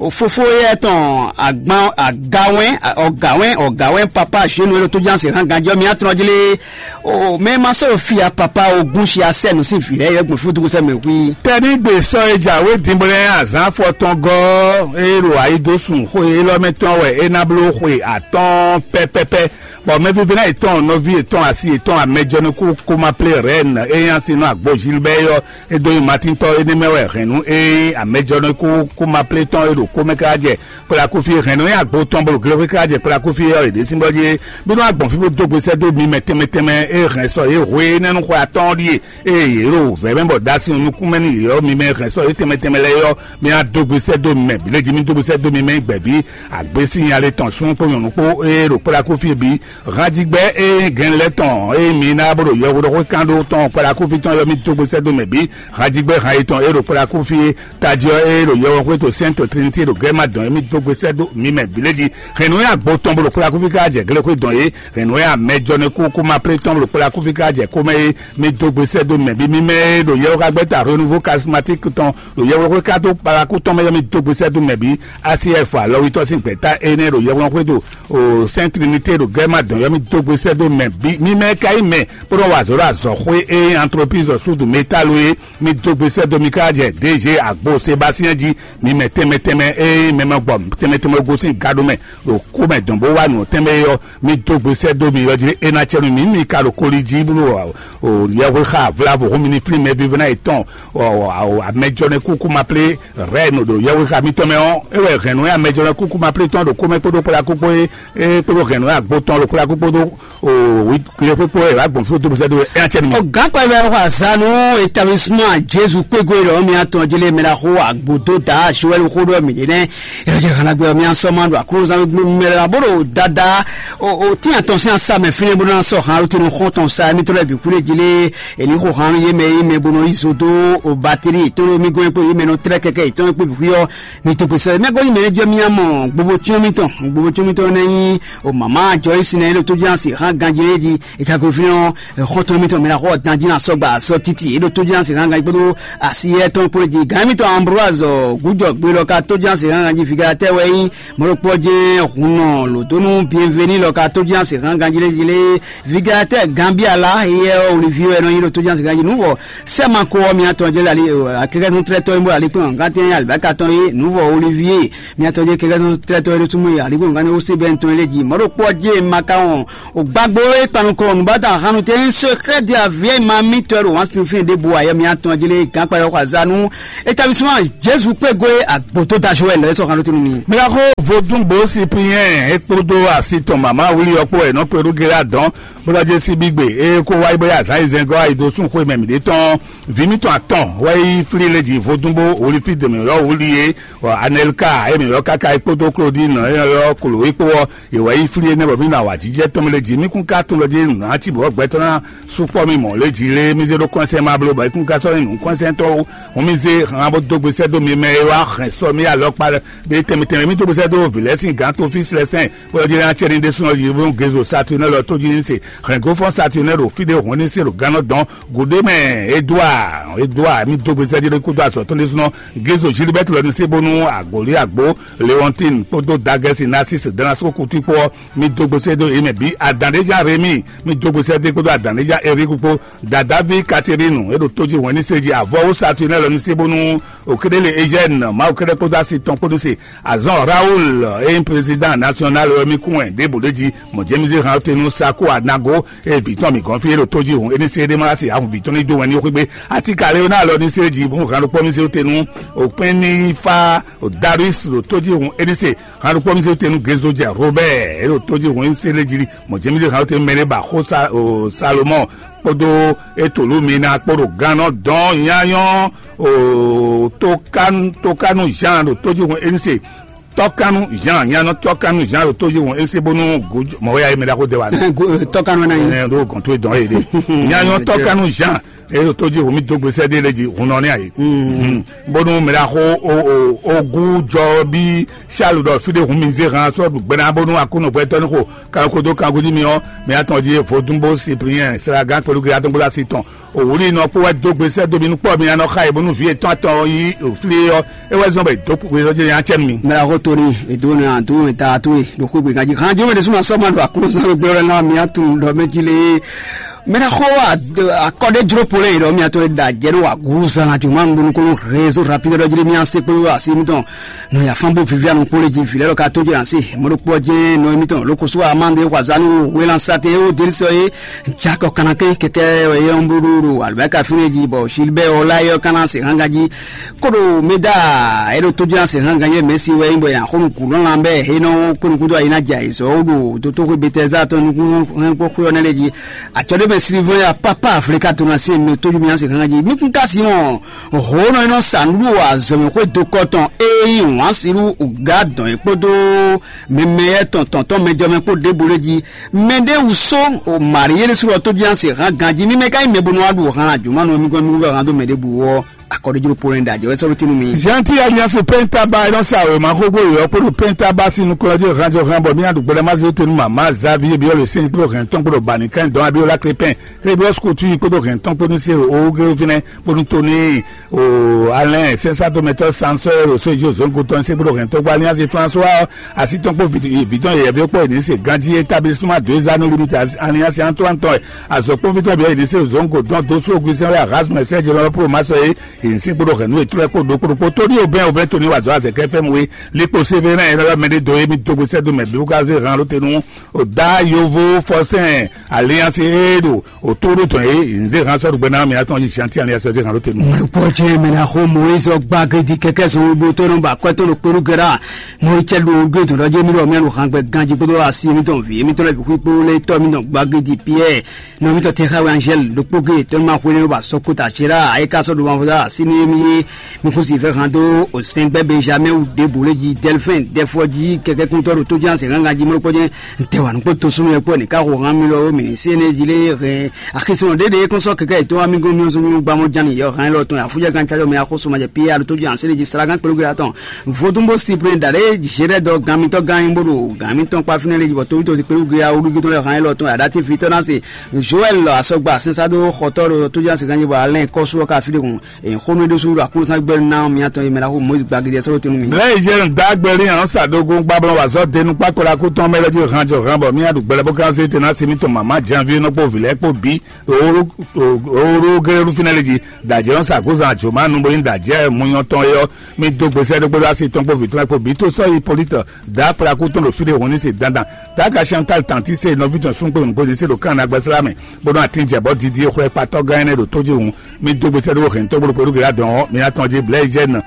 fófó éyɛ́ tɔn agban agawɛn ɔgawɛn ɔgawɛn papa Zenu éɖo tó jí asi hángan jí ɔ́ mi atɔn jí lé. O mɛ ma sɔ́ ɖo fia papa ogún si asɛ nǔ sín vǐ lɛ́ɛ yɔ gbɔn fúdúgbò sɛ mɛ hui. Tɛnígbe sɔ́ e jǎwe dǐnbɔlɛ azǎn afɔtɔngɔ́ e ɖo ayidosùn xó élɔ́ mɛ tɔn wɛ é ná bló xwe atɔ́ɔ́n pɛ́pɛ́pɛ́, bɔ mɛvívɛ́ná yětɔn nɔví yětɔn asi yětɔn amɛjɔnukú kómaplé rɛ̌n e nyi asi nɔ agbo Gilbert yɔ é dó nyi Matíntɔ́ énɛ́ mɛ wɛ hɛ̌nnu e nyí amɛjɔnukú kómaplé tɔn e ɖo kó mɛ káká jɛ kplakúfí hɛ̌nnu e agbo tɔn bó ɖo glexwé káká jɛ kplakúfí ɔ́ yě ɖésú bɔ jí bínú agbɔ̌n fí bó dó gbe sɛ́ dó mi mɛ tɛnmɛ tɛnmɛ e hɛn sɔ yě hwe énɛ́ nú xwe atɔ́ɔ́n ɖíe. Ée yě ɖo vɛ̌ mɛ bɔ ɖó asi nukún mɛ nú yě ɔ́, mi mɛ hɛn sɔ́ yě tɛnmɛ tɛnmɛ lɛ́ɛ ɔ́, mi ná dó gbe sɛ́ dó mɛ bǐ lé jí, mi dó gbe sɛ́ dó mi mɛ gbɛ̌ví. Agbé sín nya lé tɔn súnnu kpó nyɔ̌nu kpó ée ɖo kplákúfí bǐ, hanjigbɛ́ ée gɛn lɛ́ɛ tɔn ée mi ná bó ɖo yɛhweɖɔxwé kán ɖó tɔn kplákúfí tɔn ɔ́, mi dó gbe sɛ́ dó mɛ bǐ. Hanjigbɛ́ han yětɔn ée ɖo kplákúfí tají ɔ́ ée ɖo yɛhweɖɔxwé to Sɛ́nto Trinité ɖo gɛ́ ma dɔn é, mi dó gbe sɛ́ dó mi mɛ bǐ lé jí. Hɛ̌nnu e agbo tɔn bó ɖo kplákúfí ká jɛ glexwé dɔn é, hɛ̌nnu e amɛ jɔ nukún kú ma plé tɔn bó ɖo kplákúfí ká jɛ kó mɛ é, mi dó gbe sɛ́ dó mɛ bǐ. Mi mɛ e ɖo yɛhwekágbɛ́ta Renouveau Charismatique tɔn ɖo yɛhweɖɔxwé ká dó kplakú tɔn mɛ ɔ́, mi dó gbe sɛ́ dó mɛ bǐ. A C F alɔwítɔ́ sín gbɛ̌ta énɛ́ ɖo yɛhweɖɔxwé ɖo o Sainte Trinité ɖo gɛ́ ma dɔn ɔ́, mi dó gbe sɛ́ dó mɛ bǐ. Mi mɛ ka nyí mɛ bó nɔ́ wa azɔ̌ ɖo azɔ̌xwé e nyí Entreprise Sud Métal é, mi dó gbe sɛ́ dó mi ká jɛ D G Agbo Sébastien jí. Mi mɛ tɛnmɛ tɛnmɛ e nyí mɛ ma gbɔ tɛnmɛ tɛnmɛ gosín gado mɛ ɖo kú mɛ dɔn bó wá nǔ tɛnmɛ é ɔ́, mi dó gbe sɛ́ dó mi yɔ jí é ná cɛ nú mi. Mi ka ɖo koli jí bó ɖo yɛhwexa vlavo hún mi ní flín mɛ vívɛ́ná yětɔn amɛjɔnɛ kúkú ma plé rɛ̌n ɖo yɛhwexa mitɔn mɛ ɔ́, é wɛ hɛ̌nnu e amɛjɔnɛ kúkú ma plé tɔn ɖo kómɛ kpódó kplakúkpó é kpódó hɛ̌nnu e agbo tɔn ɖo kplakúkpó dó o wi kle kpókpó é wá gbɔn fí dó sɛ́ dó é ná cɛ nú mi. Ọ̀gá kpɛlɛ wà zanu établissement Jésù kpégo ìlọ mi atɔn jele mɛ la xó agbodo da Joël xó ɖɔ mi ɖe nɛ. Ìrọ̀jẹ̀ hàn gbé mi asọ́ máa ɖo àkúrò zan gbé mi la bó ɖo dada o tí àtọ̀ sí àṣà mẹ́ fínlẹ̀ bó náà sọ hàn ló tẹnu xɔ́n tɔn sa mi tọ́lẹ̀ bí kúlẹ̀ jele èlí xó hàn yé mẹ́ yé mẹ́ bó nọ yí zodo o bateri tó ló mi gɔn pé yé mẹ́ nọ tẹ́lẹ̀ kẹ́kẹ́ ìtọ́ pé bí yọ mi tó pèsè mẹ́ gɔn yé mẹ́ jẹ́ mi àmọ́ gbogbo tí mi tàn gbogbo tí mi tàn náà yín o màmá àjọ yìí sinẹ́ ló tó jẹ́ àṣì hàn ganjẹ́ yé jí ìkàgòfin ọ̀ xɔtɔn mi tɔn mi na xɔ dan jí na sɔgba sɔ titi e ɖo tó jí na se hanga kpódó asi yɛ tɔn kpó jí gan mi tɔn Ambroise gújɔ gbé lɔ ka tó jí na se hanga jí figilátɛ wɛ yí mɔlɔkpɔ jɛ hunɔ lòdónú bienveni lɔ ka tó jí na se hanga jí lé jí lé figilátɛ Gambia la yɛ Olivier wɛ nɔ yí ɖo tó jí na se hanga jí nuvɔ sɛma ko ɔ mi atɔ jɛ lali akɛkɛsɔn trɛtɔ yi bó ali kpɔn gantɛ alibaka tɔn yé nuvɔ Olivier mi atɔ jɛ kɛkɛsɔn trɛtɔ yi ɖo túmɔ yi ali kpɔn gantɛ ó se bɛ ntɔn yi lé jí mɔlɔkpɔ jɛ maka wɔn O gbàgbó e kpanukɔ nùbátà hanu tɛ nyí secret de la vieille mamie tɔ ɖo wǎn sinfín ɖěbǔ ayɛ mi atɔn jí lé gǎn kpa yɔxɔ azanu établissement Jésus kpégo e agbǒtó dajo wɛ lɛ́ sɔ hanu tunu mi. Mìlaxó vodúngbò Cyprien é kpódó asi tɔn màmá wúli ɔkpó wɛ nɔ kpeɖú géré adɔn bó lɔ jɛ síbí gbe eye kó wáyé bóyá azǎn yi zɛngɔ́ ayi dó sún xwé mɛ mǐɖé tɔn vǐ mítɔn atɔn wɛ yí flí lé jí vodúngbò wòlífí dèmí yɔ wúli é Anelka émí yɔ káká é kpódó Claudine é yɔ kolo é kpó ɔ́ Yě wɛ yí flí énɛ́ bɔ mǐ nɔ awǎjijɛ tɔn mɛ lě jí. Mí kún ka tunwun ɖɔ jí nǔ ná cí bɔ gbɛtɔ́ ná sukpɔ́ mì mɔ̌ lě jí lé. Mí zé ɖó kɔ́nsɛn ma bló bɔ é kún ka sɔ́ nyí nǔkɔ́nsɛntɔ́ ó. Hǔn mì zé han bó dó gbe sɛ́ dó mi mɛ e wá hɛn sɔ́ mì alɔkpa ɖé tɛnmɛ tɛnmɛ. Mì dó gbe sɛ́ dó vǐ lɛ́ɛ sín gǎn tofí Slɛstɛn bó ɔ́ jí ná cɛ ní ɖésúnɔ jí bó Gezo Satúnɛ lɔ tó jí ní se. Hɛn gófɔ́n Satúnɛ ɖo fí ɖé hǔn ní se ɖo gannɔ dɔn. Gǔɖé mɛ Edouard Edouard mì dó gbe sɛ́ jí ɖé kúdó azɔ̌ tɔn ɖésúnɔ. Gezo Gilbert lɔ ní se bónú Agbǒlí Agbǒ Leontine kpódó Dagɛsi Narcisse Danasko Kutu kpó ɔ́, mì dó gbe sɛ́ dó Yě mɛ bǐ, adǎnɖéjá Remi, mi dó gbe sɛ́dé kpódó adǎnɖéjá Eriku kpó, Dadaví Katerinu, é ɖo tójí hwɛ̌n ní sé jí, avɔ́wú Saturnɛ́ lɔ ní sé bónú Okéɖélé Eugène, Mawu kɛ́ɖɛ́ kpódó asi tɔn kpó ní se, azɔn Raoul, e nyí président national wɛ mì kún wɛ ɖěbǔ ɖé jí, mɔ̌ jɛ́n mì zé han te nú Sako Anago, e vǐ tɔn mǐ gɔ́n fí é ɖo tójí hǔn, é ní sé ɖé má wá se ahu vǐ tɔn ní dó wɛn ní xwé gbé. Atika Leona lɔ ní sé jí hǔn han ɖokpó mì zé te nú Okpɛ́nnífá Darius ɖo tójí hǔn, é ní se han ɖokpó mì zé te nú Gezo jɛ Robert, é ɖo tójí hǔn é ní sé ɖé jí, mɔ̌ jɛ́n mì zé han te nú mɛ ɖé ba xó Sa- o, Salomɔn kpódó Etolumina kpó ɖo gannɔ dɔn nyanyɔ o Tokanu Tokanu Jean ɖo tójí hɔn énise tɔkanu Jean nyanɔ tɔkanu Jean ɖo tójí hɔn énise bónú mɔwé ayi mɛ ɖaxó de wa. Tɔkanu na yi. Ɛnɛ ɖo gɔnto dɔn yé de nyanɔ tɔkanu Jean e ɖo tójí hɔn mi dó gbèsè de lé jí hun nɔ ní ayi. Bónú mɛ ɖaxó ogu jɔ bí Charles ɖɔ fí ɖé hun mi zé hàn sɔ gbɛná bónú akúnɔ gbɛtɔ ní xo kan kodo kan gúdí mi ɔ́, mi atɔn jí vodúnbó Cyprien Sragan kpɛlú gé atɔn gbla sí tɔn. Òwúlí nɔ kpó wɛ dó gbe sɛ́ dó mi nú kpɔ́ mi ná nɔ xa yi bónú vǐ yětɔn atɔn yí òflí ɔ́, é wɛ zɔ́n bɔ è dǒ kpukpu é zɔ́ jɛ nya cɛ nú mi. Mɛ ɖaxó Tony, èdó ne àdó wɛn ta tó e ɖo xwé gbe ganjí. Hàn jó mɛ ɖésú ma sɔ́ ma ɖo aklúnɔzán gbé ɔ́ lɛ́ɛ ná mi atún ɖɔ mɛ jí lé. Mɛ ɖaxó akɔɖéjló polɛ ɖɔ mi atɔn e ɖa jɛ nú wa gúzan ná jó ma nú bónú kónú réseau rapide ɖɔ jí lé mi asé kpó asi mitɔn. Nɔ ya fán bó vivi anɔ kpó lé jí vǐ lɛ́ɛ ɖɔ ka tó jɛ asi. Mɔ ɖokpó ɔ́ jɛ́n nɔ émítɔn ló kosó amande wazanu wélansatɛ ó délisɔ é. Jakɔ kanakɛn kɛkɛ yɔnbruɖuɖu alubɛka fínɛ jí bɔ Gilbert Olayɔ kana se hanga jí. Koɖo meda é ɖo tójú se hanga yɛ mɛsi wɛ bɔ ya xɔnu kúlɔ lan bɛ é nɔ kpɔnukúndó ayi na jɛ ayizɔ ó ɖo tótóxwe Betɛza tɔn nukún hɛn kpó xwe ɔnɛ lɛ jí. Atsɔ ɖé mɛ Silivɔn ya papa Afrika to na se no tójú mi se hanga jí mi kún ka si mɔ hǒnɔ é nɔ sa nǔɖuɖu azɔ̌mɛ xwé dokɔ tɔn é nyí wǎn silu ga dɔn é kpódó mɛmɛ yɛ tɔn tɔn tɔn mɛjɔmɛ kpó ɖěbǔ lé jí. Mɛ ɖé wú só o Marie ɖésú ɔ́ tó jí ase hán ganjí mímɛ́ ká nyí mɛ bó nɔ wá ɖu hán ajǔmánú ɔ́ mí gɔ́ mí wú hán dó mɛ ɖěbǔ ɔ́, akɔ ɖé jló Polɛ́ni ɖo ajɛ wɛ sɔ́ ɖó tínú mi. Gentil Alliance Penta ba é nɔ sa wěma xógbó yɔ̌ kpódó Penta ba sín nukɔn jí hán jɔ hán bɔ mí aɖu gbɛɖɛ má zé tenu mama Xavier Biɔ́ le sɛn kpódó hɛn tɔn kpódó Banikan dɔn Abiyola Krépin Xebiɔ́s Kutu kpódó hɛn tɔn kpó ní se o Ogéwéfínɛ kpódó Tóní o Alɛn sɛnsátomɛtɔ́ Sansɔ́ Roséji Ozongo tɔn ní se kpódó hɛn tɔn kpó Alliance François asi tɔn kpó vǐ tɔn yɛyɛví kpó ní se ganjí établissement deux anneaux limite Alliance Antoine tɔn azɔkpɔ́nví tɔn bǐ ɔ́ yě ní se Ozongo dɔn dó sú Augustin wɛ Erasme Serge lɔlɔ Polo Masɔ é yě ní se kpódó hɛn nú ètúrɛ kpó ɖokpó ɖokpó Tóní Obɛn Obɛn Tóní wazɔ azɛ kɛfɛ́m we likpo Sévérin ɛ lɔlɔ mɛ ɖé dó émí dógbe sɛ́ dó mɛ bí wú ká zé hɛn alótenu o dá yovo fɔsɛn Alliance é ɖo o tó ɖó tɔn é nzé hán sɔ́ ɖo gbɛ ná mì atɔn yi Chantier Alliance zé hán ɖó te nú. Mɔ̀lùpọ̀ jẹ́ mẹ́nà xó Moïse gba gidi kɛ̀kẹ́ sɔn wíwú tó nɔ ba kwẹ́ tó nɔ kpéɖu gɛ́ rá. Mɔ̀lùcẹ́ ɖo gé dɔn ɖɔ jẹ́ mi ɖɔ mí alɔ hán gbɛ ganjí kpódó asi mi tɔn vǐ mi tɔn lɛ bǐ xwí kpó lɛ tɔ́ mi tɔn gba gidi Pierre. Nɔ mi tɔn tɛ xá wɛ Angèle ɖokpó gé tɔn ma xwé ne ba sɔ́ kó ta tsi rá ayé ká sɔ́ ɖo wǎn fó dá asi ní mi yé mi kún si fɛ́ hán dó o sɛngbɛ Benjamin wu ɖěbǔ lé jí Delphin Dɛfɔ jí kɛkɛ́kúntɔ́ ɖo tó jí asě gángan jí mɔ́ kpɔ́ jɛ́n. Ntɛ́ wa nukpó tosúnú wɛ kpɔ́ ní ká xo hán mi lɔ ó mǐ ní sé énɛ́ jí lé hɛn axisɔn ɖéɖé kɔn sɔ́ kɛkɛ yětɔn wá mì gɔ́n mì ɔ́ zɔn mì gbá mɔ ján nìyɛ hán élɔ́ tɔn afújɛ gán cájɔ mɛ axóso ma jɛ Pierre alo tó jí asé lé jí sara gán kpéɖó gé atɔn. Vodúnbó si plé dǎ ɖé zé ɖɛ dɔ gán mitɔ́ gán nyí bó ɖo gán mitɔn kpá fínɛ́ lé jí bɔ tóbítɔ́ si kpéɖó gé awúɖúgí tɔn lɛ hán élɔ́ tɔn aɖátífitɔ́ ná se Joël asɔgba sɛnsá dó xɔtɔ́ ɖo tó jí asé gán jí bɔ alɛ́n kɔ́sú ɔ́ ka fí ɖé hùn. Xónú e ɖésú ɖo aklúnɔzán gbɛ́ ná mǐtɔn e mɛ ná xo Mɔyízi gbagidi ɔ́ sɔ́ ɖó tɛn nú mì. Lɛ́ Ezɛ́ɛn dó agbɛ́lín anɔ̌ sa ɖogun gbablɔ́ wǎ zɔ́ denu kpákpɔ́ ɖo akútɔn mɛ lɛ́ɛ jí han jɔ han bɔ mì aɖu gbɛlɛ́ bó ká zé te ná sí mítɔn mama janví nɔ kpó vǐ lɛ́ɛ kpó bǐ. Oɖó géré nú fínɛ́ lé jí dǎjɛ́ nɔ sa gǒzan àjǒmánu bó nyí dǎjɛ́ munyɔ tɔn é ɔ́, mì dó gbesẹ́ ɖó gbódó asi tɔn kpó vǐ tɔn lɛ́ɛ kpó bǐ tó sɔ́ Hipólíte dó Aflaku tɔn ɖo fí ɖé hɔn ní se dandan. Daga Chantal Tantise nɔví tɔn súngbó nǔgbó ní se ɖo kán agbasílá mɛ, bó nɔ atín jɛ bɔ didi xwlɛ kpatɔ́ gán énɛ́ ɖo tó jí hǔn. Mi dó gbe sɛ́ ɖó hɛn tɔn gbolo kpɛɖú gělá dɔn ɔ́, mi ná tɔn jí blɛ́ jɛ nɔ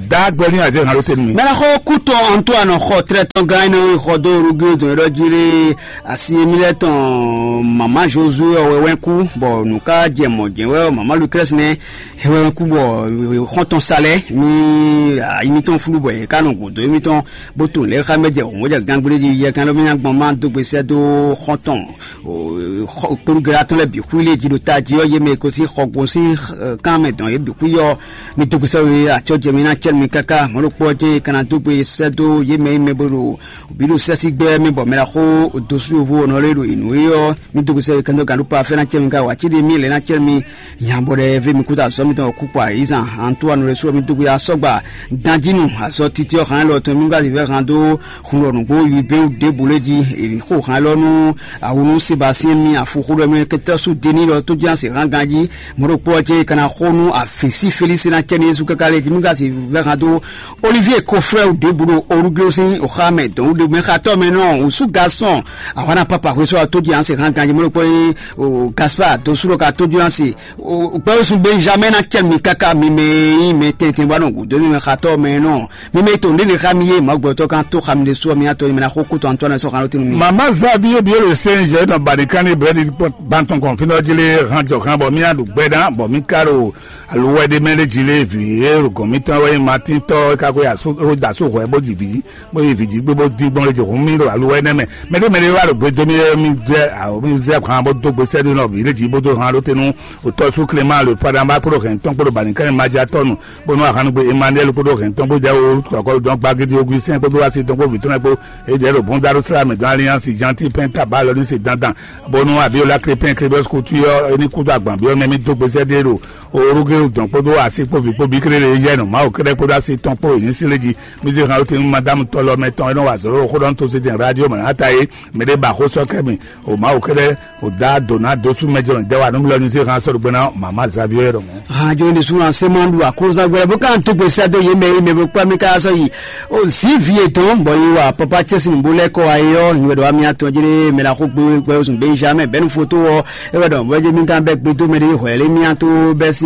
dá gbɛ́ ní azé hàn ló tenu mi. Mɛ ná xɔ kútɔ Antoine xɔ tlɛ tɔn gán énɛ́ xɔ dó Rugio dɔn ɖɔ jí lé asi mi lɛ tɔn mama Josué ɔwɛ wɛn kú bɔ nǔ ká jɛ mɔ jɛ wɛ mama Lucrèce nɛ hɛwɛ wɛn kú bɔ xɔntɔn sa lɛ mi ayi mitɔn flu bɔ yɛ ká nɔ gǔdo émitɔn bó to lɛ xa mɛ jɛ òun jɛ gángbélé jí yɛ kan lɔ mi nya gbɔn ma dó gbe sɛ dó xɔntɔn kpéɖu gɛlɛ atɔn lɛ bǐ xwí lé jí ɖo tají ɔ́ yé mɛ ko sí xɔ gosín kan mɛ dɔn yé bǐ xwí ɔ́, mi dó gbe sɛ́ we acɔ́ jɛ mi ná cɛ́ nú mi káká. Mɔ̌ ɖokpó ɔ́ jɛ́n è ka ná dó gbe sɛ́ dó yě mɛ e mɛ bo ɖo bǐ ɖo sɛ́sígbɛ́ mɛ bɔ mɛ ɖaxó dó sú yovo ɔ́ nɔ lé ɖo yě nú é ɔ́, mi dó gbe sɛ́ we kɛntɔ́ gǎn ɖó pa fɛ́ ná cɛ́ mi ká wǎ cí ɖé mi lɛ́ ná cɛ́ mi. Nya bɔ ɖɛ ve mi kúta azɔ́ mitɔn kúkú ayizan Antoine ɖésú ɔ́, mi dó gbe asɔ́gba. Danjinu azɔ́ titi ɔ́ hán lɔ tɔn mi gba zǐvɛ́ hán dó hun lɔ nǔgbó yibéwu ɖěbǔ lé jí. È xo hán lɔ nú awunu Sebastien mi afuxu ɖɔ mɛ kɛtɛ́ sú deni lɔ tó jí asi hán ganjí. Mɔ̌ ɖokpó ɔ́ jɛ́n è ka ná xo nú avǐ sí Felísi ná cɛ ní Jezu káká lé jí mi gba zǐvɛ́ hán dó Olivier Kofrɛ́ ɖěbǔ ɖo Oruglo sín oxá mɛ dɔn ɖe mɛ xatɔ́ mɛ nɔ wǔsú gasɔn ahwana papa hwesɔ ɔ́ tó jí asi hán ganjí. Mɔ̌ ɖokpó ɔ́ nyí Gaspard dó sú ɖɔ ka tó jí asi gbɛwúsú Benjamin ná cɛ mi káká mi mɛ e nyí mɛ tɛntɛn bɔ nɔ gǔdo mi mɛ xatɔ́ mɛ nɔ mi mɛ to ndéle xá mi yé mɔ̌gbɔtɔ́ kan tó xa mi ɖésú ɔ́ mi atɔ mi ná xó kútɔ Antoine sɔ́ xan ló tɛnu mi. Mama Xavier Biolo Saint Jean nɔ bani kan ní brɛdi gbantɔn kɔn fínɔ jí lé hán jɔ hán bɔ mí aɖu gbɛ ná bɔ mí ka ɖo aluwɛ ɖé mɛ lé jí lé vǐ e ɖo gɔn mítɔn wɛ nyí Matín tɔ́ é ka xwé asu é da asú hwɛ bó ji vǐ bó yi vǐ jí gbé bó dín gbɔn lé jí hun mí ɖo aluwɛ nɛ́ mɛ. Mɛ ɖé mɛ ɖé wá ɖo gbedo mí wɛ mí zɛ awo mí zɛ hán bó dó gbe sɛ́ ɖó nɔ vǐ lé jí bó dó hán ɖó te nú otɔ́ sú Clément le Padamba kpódó hɛn tɔn kpódó bani kan ní Maja tɔ́nu bónú ahannugbe Emmanuel kpódó hɛntɔn bó jɛ wo kɔkɔludɔn gbagidi oguisɛn kpódó asi tɔn kpó vǐtɔn kpó. Ejɛ ɖo bɔn daro sra mɛ dɔn alliance janti pɛn taba lɔ ní se dandan bónú abiola krepin krepin kutu yɔ eni kudo agban biɔ mɛ mi dó gbèsè dé ɖo orúkè dɔn kpódó asi kpó vi kpó bi kéré lè yɛ nɔ mawu kéré kpódó asi tɔn kpó èyí sí lé jí. Mi se hàn ó ti nú madame tɔlɔ mɛ tɔn enɔ wa zɔlɔ xó ɖɔn tó se tɛn radio mɛ ata yé mɛ ɖé ba xó sɔ kɛ mi o mawu kéré o da dona dosu mɛ jɔn dɛ wa nú mi lɔ ní se hàn sɔrɔ gbɛna mama Xavier ɖɔ mɔ. Hàn jɔ ní sún ase máa ń lu àkóso gbẹrẹ bó ká ń tó gbèsè àdó yé mẹ yé mẹ bó kpá mi ká sọ yìí. O zi vi etɔn bɔ yi wa papa cɛsi nìbó lɛ kɔ ayé ɔ ìwé dɔ wa mi atɔ jẹrẹ mɛ la xó gbé gbɛ oṣù Benjamin bẹnu foto wɔ ewé dɔ wẹjẹ mi kan bẹ gbé tó mɛ de hwɛ lé mi ato bẹ sí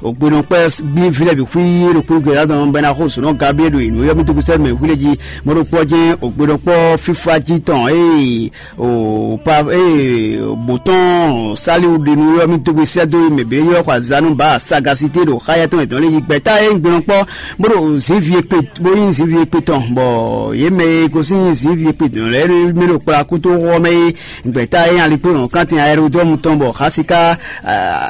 ògbénɔ kpɛ bí filẹ bí xwí ɖo kúrú gbé la dɔn bẹ na xó sùnɔ Gabriel do ìnú yọ mi tó gbèsè mẹ wílé jí mɔdó kpɔ jẹ ògbénɔ kpɔ fífá jí tɔn ee o pa ee botɔn saliwu ɖenu yɔ mi dogbe sɛ do mɛ bɛ yɔ kɔ azanu ba sagasite ɖo xaya tɔn etɔn le yi gbɛta ye gbɛnɔ kpɔ bó ɖo zinvi ekpe bó yi zinvi ekpe tɔn bɔ ye mɛ ye gosin zinvi ekpe tɔn lɛ mi ɖo kpla kuto wɔ mɛ ye gbɛta ye alikpo yɔn kantin aérodrɔmu tɔn bɔ xasika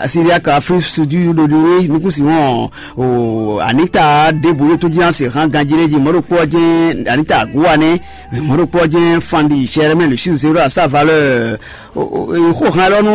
siriaka afri sudi ɖo ɖiwe nukusi wɔn o anita ɖebu yótó jí ase hàn ganjí ɖe jí mɔɖokpɔ jɛ anita aguwa nɛ mɔɖokpɔ jɛ fandi sɛrɛmɛ lusiu zero à sa valeur xo hàn lɔ nú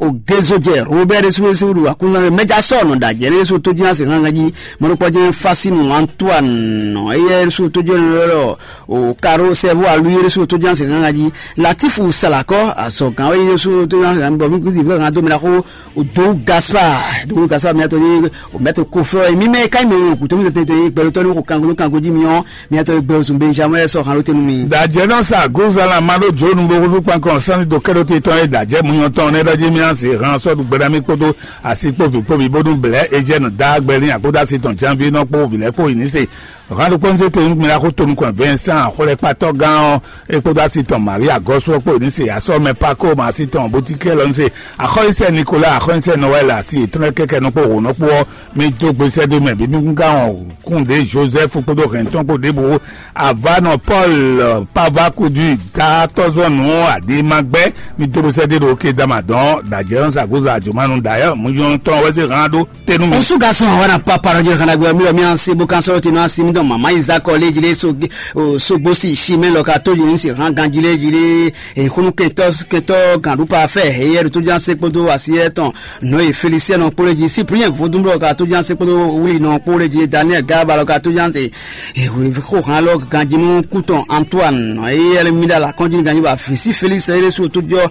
o gézo jɛ robert suwesiwu ɖo akunna mɛ mɛja sɔ nɔ da jɛ ne so tó jí ase hàn ganjí mɔɖokpɔ jɛ fasinu antoine eyɛ so tó jɛ lɔ o karo sɛvo alu yɛ so tó jí ase hàn ganjí latifu salakɔ azɔgan yɛ so tó jí ase hàn bɔ mi kusi vɛ hàn domina xo o do gaspar do gaspar mi atɔ ye o mɛtɔ kofɛ mi mɛ ka mi o kutu mi tɛ tɛ gbɛlɛ tɔ ni ko kanko kanko ji mi ɔ mi atɔ ye gbɛ o sun benjamin sɔ hàn ló tenu mi. Dajɛ nɔ sa gozala ma ɖo dzonu bo huzu kpankɔ sani do kɛɖo te tɔn ye dajɛ munyɔ tɔn ne ɖɔ ji mi asi hàn sɔ ɖu gbɛɖa mi kpodo asi kpo vi kpo vi bonu blɛ ejɛ nɔ da gbɛlin akpodo asi tɔn janvi nɔ kpo vilɛ kpo yi ni se. Hɔn ɖokpó ń zé tenu mìíràn kó tonu kɔn Vincent xwlɛkpatɔ gán ɔ́ é kpódó asi tɔn Maria gɔ́sú ɔ́ kpó ní se asɔ́ mɛ Paco ma asi tɔn Botikɛ lɔ ní se axɔ́yísɛ Nicolas axɔ́yísɛ Noël asi yětɔn lɛ́ɛ kɛ́kɛ nɔ kpó hǒnɔ kpó ɔ́ mì dó gbe sɛ́ dó mɛ bí mì kún ká wɔn kún ɖě Joseph kpódó hɛn tɔn kpó ɖěbǔ Avanɔ Paul Pavakudu datɔzɔnu Adimagbɛ mì dó gbe sɛ́ dó ɖo Kedama dɔn dajɛ ɔ́ sa gozɔ àjòmánu dayɔ mú yɔn tɔn wɛsɛ hàn ɖó tenu mi. Osu ga sɔn awa na papa rɔ jɛ kana gbɛ mi lɔ mi an se bo kan sɔrɔ tenu an se mi dɔn mama Isaac kɔ le jile so o so gbosi si mɛ lɔ ka to jile se han gan jile jile e kunu kɛtɔ kɛtɔ gan du pa fɛ e yɛ to jan se kpodo asi yɛ tɔn nɔ ye Felicien nɔ kpolo ji Cyprien vodun lɔ ka to jan se kpodo wuli nɔ kpolo ji Daniel Garba lɔ ka to jan se e xo han lɔ ganjinu kutɔn Antoine e yɛ mi da la kɔnjinu ganji ba fisi Felix e su to jɔ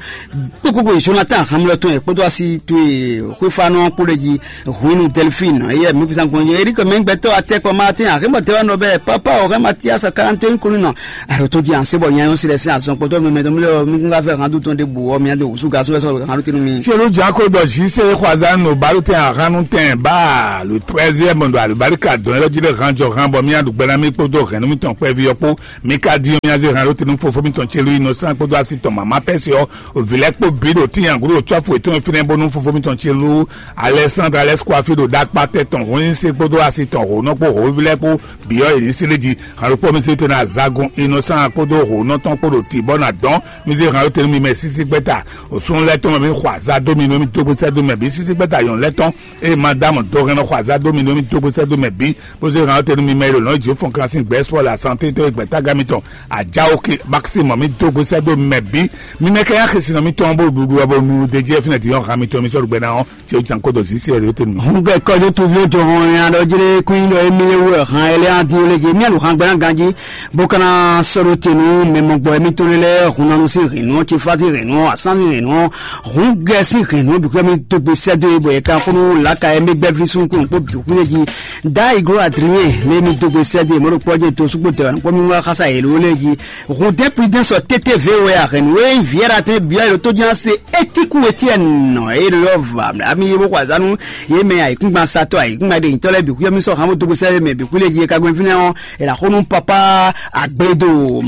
kpokpokpo Jonathan Hamilton e kpódó asi towe xwéfánɔ kpó ɖe jí Huinu Delphine eye mi kusa gbɔn yɛ erike mɛ gbɛtɔ atɛkpɔ Martin ahemɔ tɛwɛ nɔ bɛ papa o hɛ Matias karante kunu nɔ aɖo tó jí anse bɔ nyanyɔ si lɛ sin azɔn kpɔtɔ mɛmɛ tɔn mi lɛ mi kún ka fɛ hàn dutɔn de bu wɔ mi ade wusu gasu lɛ sɔ hàn dutinu mi. Fielu Jako dɔ zi se xɔazan no balo tɛn ahanu tɛn ba le treizième do alibarika dɔn yɛlɛ jí ɖe hàn jɔ hàn bɔ mi aɖu gbɛna mi kpódó hɛn mi tɔn kpɛvi yɔ kpó mi ka di mi aze hàn dutinu fofo mi tɔn tselu yi nɔ san kpódó asi tɔn mama pɛsi yɔ Vǐ lɛ́ɛ kpó bǐ ɖo tíin agǔdo cɔ́fu yětɔn e fínɛ́ bónú fofó mitɔn ce lú Alɛsándra lɛ́ɛ kó afí ɖo ɖakpá tɛ́ tɔn hɔnnyíse kpódó asi tɔn hǒnɔ kpó hǒví lɛ́ɛ kpó bǐ ɔ́ yě ní sí lí jí. Hǎnɖókpɔ́ mi sí tɛn azagun Inɔsán kpódó hǒnɔ tɔn kpó ɖo tǐ bɔ nǎ dɔn mi zé hǎnɖótɛnú mi mɛ sísí gbɛ́ta. Òsúnú lɛ́ɛ tɔn mɛ mi xɔ azá dó mi nú mi dó gbésɛ dó mɛ bǐ sísí gbɛ́ta nyɔ̌nu lɛ́ɛ tɔn eye Madame Dɔgɛnɔ xɔ azá dó mi nú mi dó gbe sɛ́ dó mɛ bǐ, bó zé hàn ɔ́ te nú mi mɛ e ɖo nɔ̌ jǐ fɔn kan sín gbɛ̌ spɔ́ le asante tó e gbɛ̌tágá mitɔn ajáwó ke bákísí mɔ mi dó gbe sɛ́ dó mɛ bǐ. Mi mɛ kɛ yá xesinɔ mitɔn bó ɖuɖu ɔ́ bó nu ɖe jí ɛ fínɛ́ din ɔ́ hàn mitɔn mi sɔ́ ɖu gbɛ ná ɔ́, tí ó jan kó dɔ zǐ sí ɛ ɖé tɛ́ mi. Hun gɛ kɔjó tu ví jɔ hɔn ya ɖɔ jlé kún yi ɖɔ émilé wɛ hàn ɛlɛ adin lé jí mía ɖo hàn gbɛná ganjí bó kana sɔɖo tenu mɛ mɔgbɔ émi tó lé lɛ hun nanu sí hɛn nɔ tsi fa sí hɛn nɔ asán sí hɛn nɔ hun gɛ sí hɛn nɔ bìkú mi tó gbe sɛ do bɔ yɛ kan kunu laka ɛmɛ gbɛ vi sun kunu kó bìkú lé jí da iglo adrien lé mi tó gbe sɛ do mɔ ɖo kpɔjɛ to sukpo tɛ kpɔ mi wá xasa yɛ ló lé jí. Rodin Prudence ɔ T T V wɛ a hɛn nǔ e nyí vǐ Ɛratɔn e byɔ́ e ɖo tójínásé Étiku Etiɛnu eye ɖo yɔ va ami ye bó xɔ azanu ye mɛ ayǐkúngban satɔ́ ayǐkúngban ɖe nyitɔ́ lɛ́ɛ bǐ xwíyɔ́ mì sɔ́ hǎn bó dó gbe sɛ́ mɛ bǐ xwí lé jí e ka gbɛn fínɛ́ ɔ́, è nǎ xó nú papá Agbedo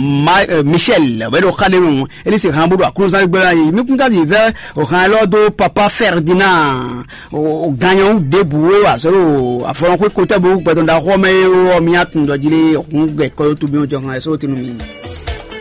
Michel wɛ ɖo xa ɖé nɔ é ní se hǎn bó ɖo aklúzán gbé ɔ́ yi mí kún ka yi vɛ́ o hǎn élɔ́ dó papá Ferdinand o ganyɔ ɖěbǔ e wa sɔ́ ɖo afɔlɔn xwé kotɛ́ bó gbɛtɔn ɖaxó ɔ́ mɛ é ɔ́ mì atun ɖɔ jí lé hǔn gbɛ kɔ́ tó bí jɔ hǎn ɛ sɔ́ tɛnu mi.